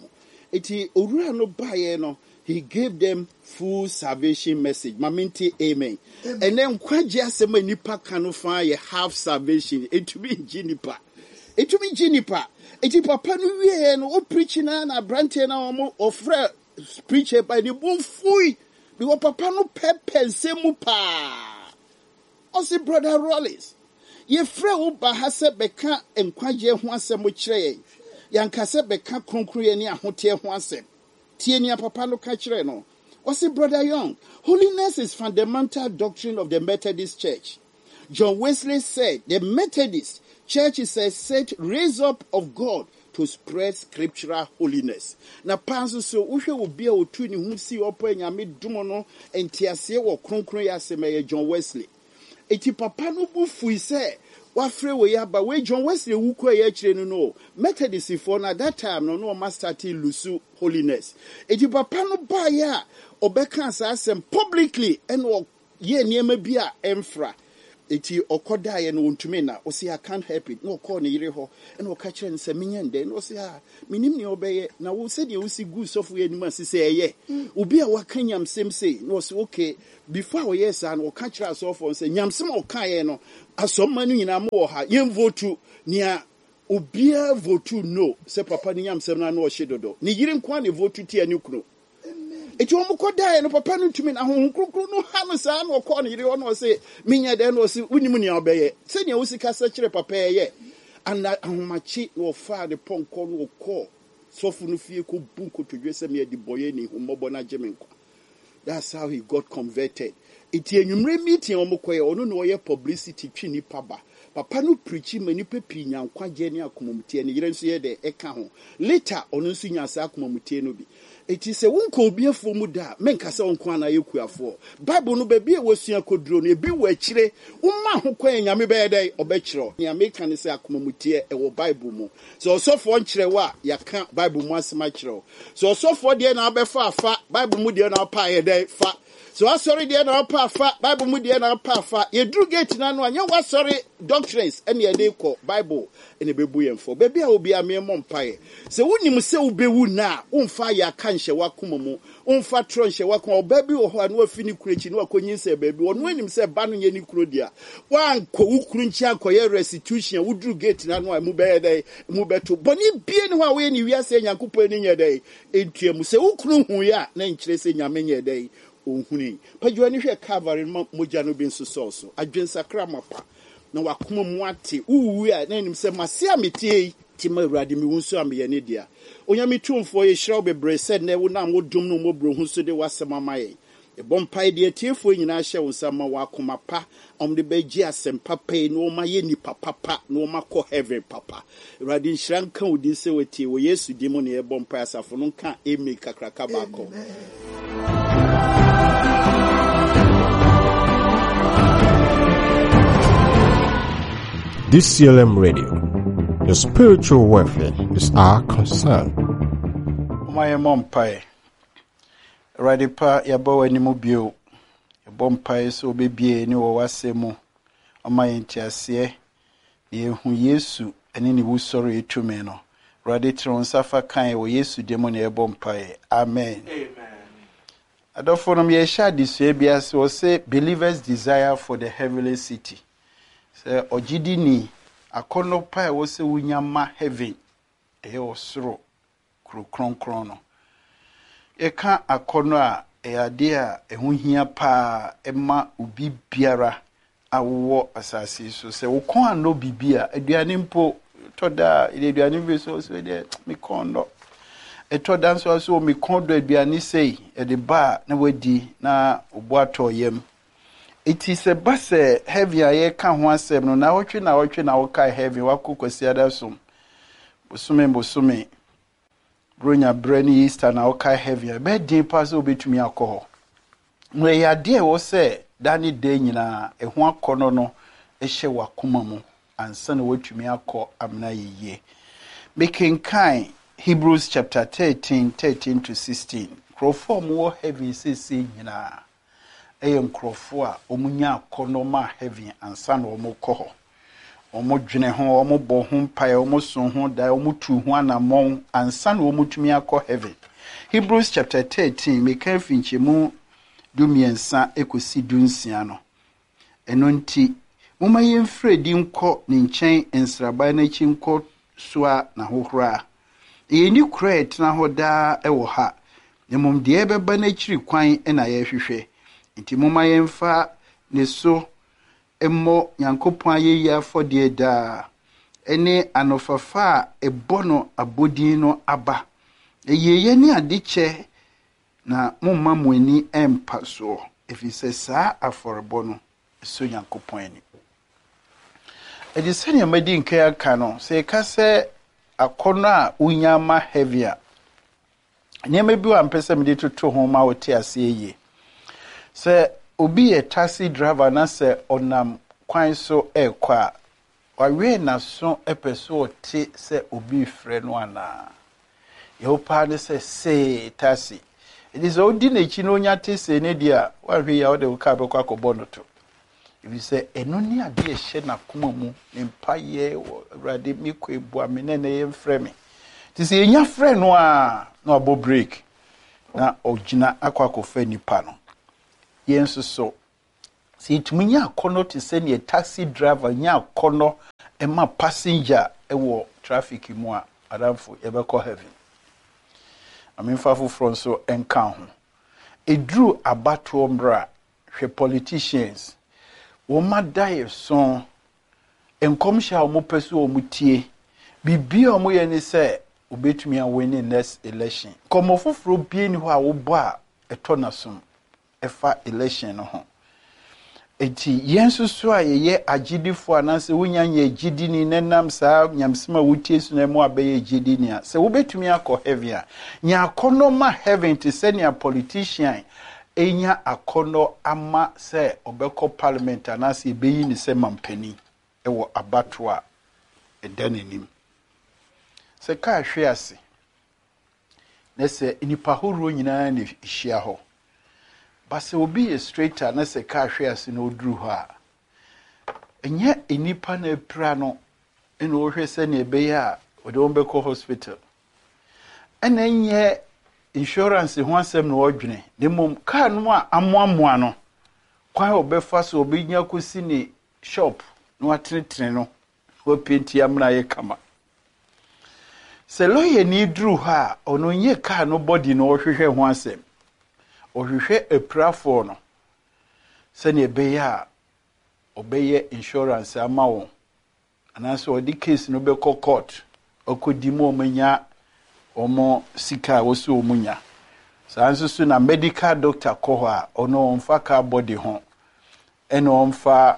Enti owura no baeɛ no, he gave them full salvation message. Ma mente amen. Ɛnɛ nkwagye asɛm a nnipa ka no faa yɛ half salvation. Ɛntumi ngye nnipa. Ɛtumi gye nnipa. Enti papa no wieɛ no, ɔprikyi no ara na aberanteɛ no a wɔn ɔfrɛ preacher ba ne bo fui. Because papa no pɛpɛ nsɛm mu paa. Ɔse Brother Rollins, yɛfrɛ wo ba ha sɛ bɛka nkwagyeɛ ho asɛm kyerɛ yɛn. Yɛanka sɛ bɛka kronkronyɛ ne ahoteɛ ho asɛm. Tie nea papa no ka kyerɛɛ no. Ɔse Brother Young, holiness is fundamental doctrine of the Methodist Church. John Wesley said, the Methodist Church is a set raised up of God to spread scriptural holiness. Na paa nso so, wohwɛ obi a otu ne ho sii hɔ paa Nyame dom no nteaseɛ wɔ kronkronyɛ asɛm a, ɛyɛ John Wesley. Enti papa no bo fui sɛ wafrɛ wei aba. Wei John Wesley wu kɔeɛ akyire no no, Methodistfoɔ no at that time no na wɔn astate lusu holiness. Enti papa no baeɛ a ɔbɛkaa saa asɛm publicly ɛna ɔyɛɛ nneɛma bi a ɛmfra. Enti ɔkɔdaeɛ no ɔntumi nna. Ɔse I can't help it. Na ɔkɔɔ ne yere hɔ ɛna ɔka kyerɛɛ no sɛ menyɛ ndɛn? Na ɔse ah mennim nea ɔbɛyɛ. Na wo sɛdeɛ wosi guu sɔfo yi anim ase sɛ ɛyɛ obi a waka nyamsɛm sei. Na ɔse okay. Before a ɔyɛɛ saa no, ɔka kyerɛɛ asɔrefoɔ no sɛ, nyamsɛm a ɔkaeɛ no, asɔmma no nyinaa mowɔ ha, yɛnvotu. Nea obiara votu no sɛ papa no nyamsɛm no ano ɔhye dodo. Ne yere nko ara na evotu tia ne kunu. Enti wɔn kɔdaeɛ no, papa no ntumi na Honhom Kronkron no ha no saa na ɔkɔɔ ne yere hɔ na ɔse, menyɛ dɛn? Na ɔse, wonim nea ɔbɛyɛ. Sɛnea wosi kasa kyerɛ papa ɛyɛ. Ana ahomakye na ɔfaa ne pɔnkɔ na ɔkɔɔ sɔfo no fie kɔbu nkotodwe sɛ, me adebɔyɛni, hu mmɔbɔ na gye me nkwa. That's how he got converted. Nti anwummere meeting a wɔkɔyɛ, ɔno na ɔyɛ publicity twe nnipa ba. Papa no preachi ma nnipa pii nya nkwagyeɛ ne akomamuteɛ. Ne yere nso yɛ dɛ ɛka ho. Later, ɔno nso nyaa saa akomamuteɛ no bi. Nti sɛ wonkɔ obi afuo mu da a, menka sɛ wo nko ara na ayɛ kuafoɔ. Bible no baabi a wasua kɔduro no, ebi wɔ akyire. Woma ho kwan a, Nyame bɛyɛ dɛn? Ɔbɛkyerɛ wo. Nea meka ne sɛ akomamuteɛ, ɛwɔ Bible mu. Sɛ ɔsɔfoɔ nkyerɛ wo a, yɛaka Bible mu asɛm akyerɛ wo. Sɛ ɔsɔfoɔ deɛ na wobɛfa a, fa. Bible mu deɛ na wopɛ a, yɛ dɛn? Fa. Sɛ w'asɔre deɛ na wopɛ a, fa. Bible mu deɛ na wopɛ a, fa. Yɛduru gate no ano a, nyɛ w'asɔre doctrines ɛne yɛde rekɔ. Bible na ɛbɛbu yɛn fɔ. Baabi a wɔ biara, meemmɔ mpaeɛ. Sɛ wonim sɛ wobɛwu nnɛ a, womfa ayaka nhyɛ w'akoma mu. Womfa torɔ nhyɛ w'akoma. Ɔbaa bi wɔ hɔ a, na wafi ne kunu akyi na wakɔnyinsɛn baabi. Ɔno anim sɛ ba no nyɛ ne kunu dea. Woankɔ wo kunu nkyɛn ankɔyɛ restitution a, woduru gate no ano a, emu bɛyɛ dɛn? Emu bɛto. Bɔne biara nni hɔ a woyɛ no wiase a Nyankopɔn ani nyɛ dɛn? Ntua mu. Sɛ wo kunu huiɛ a, na ɛnkyerɛ sɛ Nyame nyɛɛ dɛn? Ɔnhunui. Pagya w'ani hwɛ Calvary no ma mogya no bi nsosɔ wo so. Adwensakra mapa na w'akoma mu ate. Wowui a, na ɛnim sɛ m'ase a meteɛ yi, te ma Awurade, mewu nso a meyɛ ne dea. Onyame Tumfoɔ, yɛhyira wo bebree sɛ nnɛ wonam wo dom ne wo mmɔborɔhunu so de w'asɛm ama yɛn. Yɛbɔ mpae de atiefoɔ nyinaa hyɛ wo nsa ma wɔn akoma pa a wɔde bɛgye asɛm papa yi na wɔayɛ nnipa papa na wɔakɔ heaven papa. Awurade nhyira nka wo din sɛ watie. Wɔ Yesu din mu na yɛbɔ mpae asafo no nka amen kakraka baako. DCLM Radio, your spiritual welfare is our concern. Momma yɛmmɔ mpae. Awurade pa, yɛaba w'anim bio. Yɛbɔ mpae sɛ wobɛbie yɛn ani wɔ w'asɛm mu, ama yɛn nteaseɛ, na yɛahu Yesu ne ne wusɔreɛ tumi no. Awurade, tene wo nsa fa ka yɛn wɔ Yesu din mu na yɛbɔ mpaeɛ. Amen. Adɔfonom, yɛrehyɛ adesua bi ase, wɔse Believers Desire for the Heavenly City. Sɛ ɔgyedini, akɔnnɔ pa a ɛwɔ sɛ wonya ma heaven, ɛyɛ ɔsoro kuro kronkron no. Yɛka akɔnnɔ a, ɛyɛ adeɛ a ɛho hia paa ma obi biara a wowɔ asase yi so. Sɛ wo kɔn annɔ biribi a, aduane mpo, ɛtɔ da a, yɛde aduane bi so, sɛ deɛ me kɔn nnɔ. Ɛtɔ da nso a, so me kɔn dɔ aduane sei, yɛde ba a na wadi na obo atɔ yam. Eti sɛ ba sɛ heaven a yɛka ho asɛm no, naawɔtwe naawɔtwe na wokae heaven, wakɔ Kwasiada som, bosome bosome, Buronya berɛ ne Easter na wokae heaven a, ɛbɛyɛ den paa sɛ wobɛtumi akɔ hɔ. Na ɛyɛ adeɛ a ɛwɔ sɛ da ne da nyinaa ɛho akɔnnɔ no hyɛ w'akoma mu ansa na woatumi akɔ amena ayɛ yie. Mekenkan Hebrews chapter 13, 13 to 16. Nkurɔfoɔ a wɔwɔ heaven seesei nyinaa yɛ nkurɔfoɔ a wɔnya akɔnnɔ maa heaven ansa na wɔrekɔ hɔ. Wɔdwene ho, wɔbɔ ho mpaeɛ, wɔso ho daeɛ, wɔtu ho anammɔn ansa na wɔtumi akɔ heaven. Hebrews chapter 13, meka afi nkyɛmu 13 kɔsi 16 no. Ɛno nti, momma yɛmfiri adi nkɔ ne nkyɛn nsraban no akyi nkɔ soa n'ahohora. Na yɛnni kuro a ɛtena hɔ daa wɔ ha, na mmom deɛ ɛbɛba no akyiri kwan na yɛrehwehwɛ. Enti momma yɛmfa ne so mmɔ Nyankopɔn ayɛyie afɔdeɛ daa, ne anofafa a ɛbɔ no abodin no aba. Ayieeɛ ne adekyɛ na momma mo ani mmpa soɔ, ɛfiri sɛ saa afɔrebɔ no sɔ Nyankopɔn ani. Ɛde sɛnea madi nkan aka no, sɛ yɛka sɛ akɔnnɔ a wonya ma heaven a, nneɛma bi wɔ a mpɛ sɛ mede toto ho ma wote aseɛ yie. Sɛ obi yɛ taxi driver na sɛ ɔnam kwan so ɛrekɔ a, wawɛn n'aso pɛ sɛ ɔte sɛ obi refrɛ no anaa. Deɛ wopɛ ne sɛ see taxi. Ɛnti sɛ wodi n'akyi na onya te see ne deɛ a, woanhwɛ yie a wode wo kaa bɛkɔ akɔbɔ no to. Ɛfiri sɛ ɛno ne adeɛ a ɛhyɛ n'akoma mu, ne mpaeɛ wɔ Awurade mekɔ boa me na ɛnɛ yɛmfrɛ me. Nti sɛ yɛnya frɛ no a na wabɔ break na ɔgyina akɔ akɔfa nipa no. Yɛn nso so, sɛ yɛtumi nya akɔnnɔ te sɛ neɛ taxi driver nya akɔnnɔ ma passenger wɔ traffic mu a, adamfo yɛbɛkɔ heaven. Amemfa foforɔ nso nka ho. Ɛduru abatoɔ mmerɛ a, hwɛ politicians, wɔn adaeɛso, nkɔmhyɛ a wɔpɛ so wɔn tie, biribi a wɔyɛ ne sɛ wɔbɛtumi awin next election. Nkɔmmɔ foforɔ bie ni hɔ a wobɔ a ɛtɔ n'asom ɛfa election no ho. Eti yɛn nso so a yɛyɛ agyidifoɔ anaasɛ wonya nyɛ gyidini na nam saa nyamesɛm a wotie so na ɛmu abɛyɛ gyidini a, sɛ wobɛtumi akɔ heaven a, nya akɔnnɔ ma heaven te sɛ nea politician enya akɔnnɔ ama sɛ ɔbɛkɔ parliament anaasɛ yɛbɛyi ne sɛ mampanin wɔ abatoɔ a ɛda n'anim. Sɛ kaa hwe ase na sɛ nnipa ahoroɔ nyinaa na ɛhyia hɔ, ba sɛ obi yɛ straight a na sɛ kaa hwe ase na ɔduru hɔ a, ɛnyɛ nnipa na apira no ɛna ɔhwɛ sɛnea ɛbɛyɛ a ɔde wɔn bɛkɔ hospital. Ɛna ɛnyɛ insurance ho asɛm na ɔdwene, na mmom kaa no a amoamoa no, kwan a ɔbɛfa so ɔbɛnya kɔsi ne shop na watenetene no, wapaint amena ayɛ kama. Sɛ lɔyani duru hɔ a, ɔno nyɛ kaa no body na ɔhwehwɛ ho asɛm. Ɔhwehwɛ apirafoɔ no sɛnea ɛbɛyɛ a ɔbɛyɛ insurance ama wɔn anaasɛ ɔde case no bɛkɔ court ɔkɔdi mu wɔn anya wɔn sika a wɔsɛ wɔn nya. Saa nso so na medical doctor kɔ hɔ a, ɔno ɔmfa car body ho ɛna ɔmfa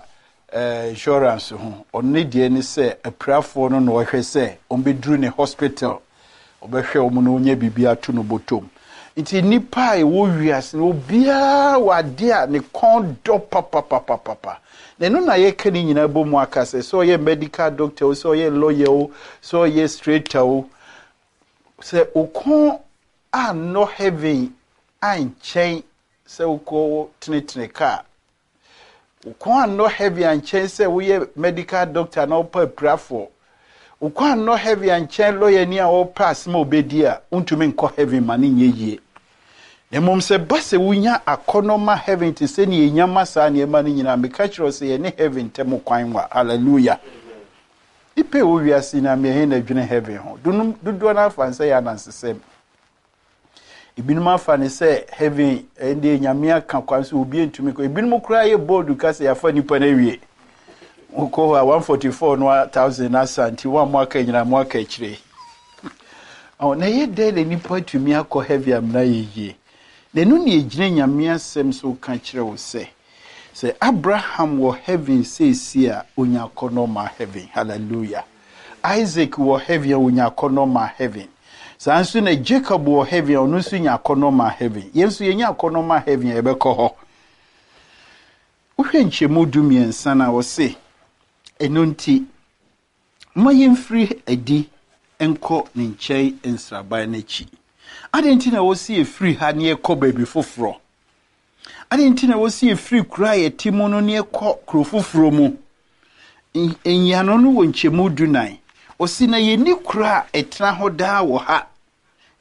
insurance ho. Ɔno ne deɛ ne sɛ apirafoɔ no na ɔhwɛ sɛ ɔmbɛduru ne hospital, ɔbɛhwɛ wɔn na ɔnya biribi ato no bɔtɔm. Nti nnipa a ɛwɔ wiase no, obiara wɔ adeɛ a ne kɔn dɔ papapapapa. Na ɛno na yɛka ne nyinaa bɔ mu aka sɛ, sɛ ɔyɛ medical doctor o, sɛ ɔyɛ lawyer o, sɛ ɔyɛ straighter o, sɛ wo kɔn annɔ heaven ankyɛn sɛ wokɔ tenetene kaa, wo kɔn annɔ heaven ankyɛn sɛ woyɛ medical doctor na wopɛ apirafoɔ, wo kɔn annɔ heaven ankyɛn lawyer ni a wɔpɛ asɛm a obɛdi a, wontumi nkɔ heaven ma ne nyɛ yie. Na mmom sɛ ba sɛ wonya akɔnnɔ ma heaven te sɛ nea ɛnya ma saa nneɛma no nyinaa, meka kyerɛ wo sɛ yɛne heaven ntam kwan wa. Hallelujah. Nipa a ɛwɔ wiase nyinaa mmiɛnhe na adwene heaven ho. Dodoɔ no afa ne sɛ yɛ anansesɛm. Ebinom afa ne sɛ heaven ɛnde Nyame aka kwan so obi ntumi kɔ. Ebinom koraa yɛ bold ka sɛ yɛafa nipa no awie. Wokɔ hɔ a 144 no 1000 asa nti wɔn a mo aka nyinaa mo aka akyire. Ɔ na ɛyɛ dɛn na nipa atumi akɔ heaven amena yɛ yie? Na ɛno ne ɛgyina Nyame asɛm so ka kyerɛ wo sɛ, sɛ Abraham wɔ heaven seesie a, onya akɔnnɔ ma heaven. Hallelujah. Isaac wɔ heaven a, onya akɔnnɔ ma heaven. Saa nso na Jacob wɔ heaven a, ɔno nso nya akɔnnɔ ma heaven. Yɛn nso yɛnya akɔnnɔ ma heaven a, yɛbɛkɔ hɔ. Wohwɛ nkyɛmu 13 no a, ɔse, ɛno nti, ma yɛmfiri adi nkɔ ne nkyɛn nsraban no akyi. Adɛn nti na wɔsi yɛfiri ha ne yɛkɔ baabi foforɔ? Adɛn nti na wɔsi yɛfiri kuro a yɛte mu no ne yɛkɔ kuro foforɔ mu? Nyiano no wɔ nkyɛmu 14. Ɔsi na yɛnni kuro a ɛtena hɔ daa wɔ ha.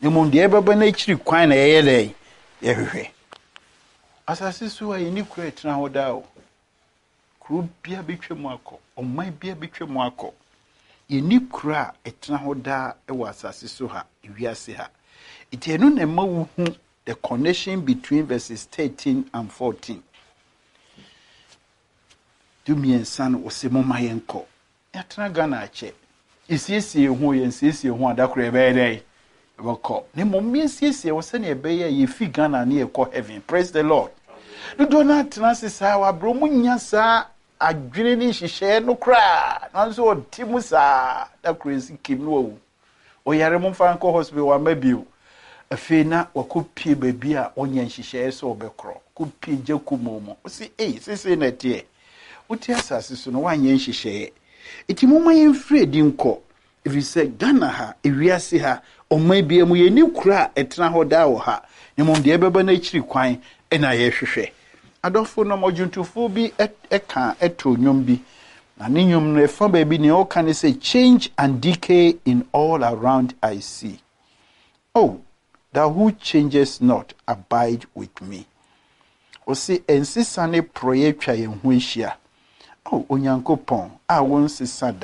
Na mmom deɛ ɛbɛba n'akyiri kwan na yɛyɛ dɛn? Yɛhwehwɛ. Asase so a yɛnni kuro a ɛtena hɔ daa o. Kuro bia bɛtwa mu akɔ, ɔman bia bɛtwa mu akɔ. Yɛnni kuro a ɛtena hɔ daa wɔ asase so ha, ewiase ha. Nti ɛno na ɛma wohu the connection between verses 13 and 14. 13 no, wɔsɛ momma yɛnkɔ. Yɛatena Ghana akyɛ. Yɛsiesie yɛn ho, yɛnsiesie ho a, da koro yɛbɛyɛ dɛn? Yɛbɛkɔ. Na mmom yɛnsiesie ho sɛnea ɛbɛyɛ a yɛfi Ghana ne yɛkɔ heaven. Praise the Lord. Dodoɔ no atena ase saa, wabrɛ mu nya saa adwene ne nhyehyɛeɛ no koraa. Nanso ɔte mu saa, da koro yɛsi kim no wawu. Ɔyare, momfa nkɔ hospital, wama bio. Afei na wakɔpie baabi a ɔnyɛ nhyehyɛeɛ sɛ ɔbɛkorɔ kɔpie gya kumoo mu. Ɔsi ei, seesei na ɛteɛ wote asase so no, woanyɛ nhyehyɛeɛ. Nti momma yɛmfiri adi nkɔ, ɛfiri sɛ Ghana ha, ewiase ha, ɔman bia mu, yɛni kuro a ɛtena hɔ daa wɔ ha, na mmom deɛ ɛbɛba no akyiri kwan ɛna yɛhwehwɛ. Adɔfo nom, ɔdwontofoɔ bi ɛka ɛto nnwom bi, na ne nnwom no ɛfa baabi nea ɔka ne sɛ, "Change and decay in all around I see. Oh, thou who changes not, abide with me." Ɔsi nsesa ne porɔeɛ atwa yɛn ho ahyia. Oh, Onyankopɔn a wɔnsesa da.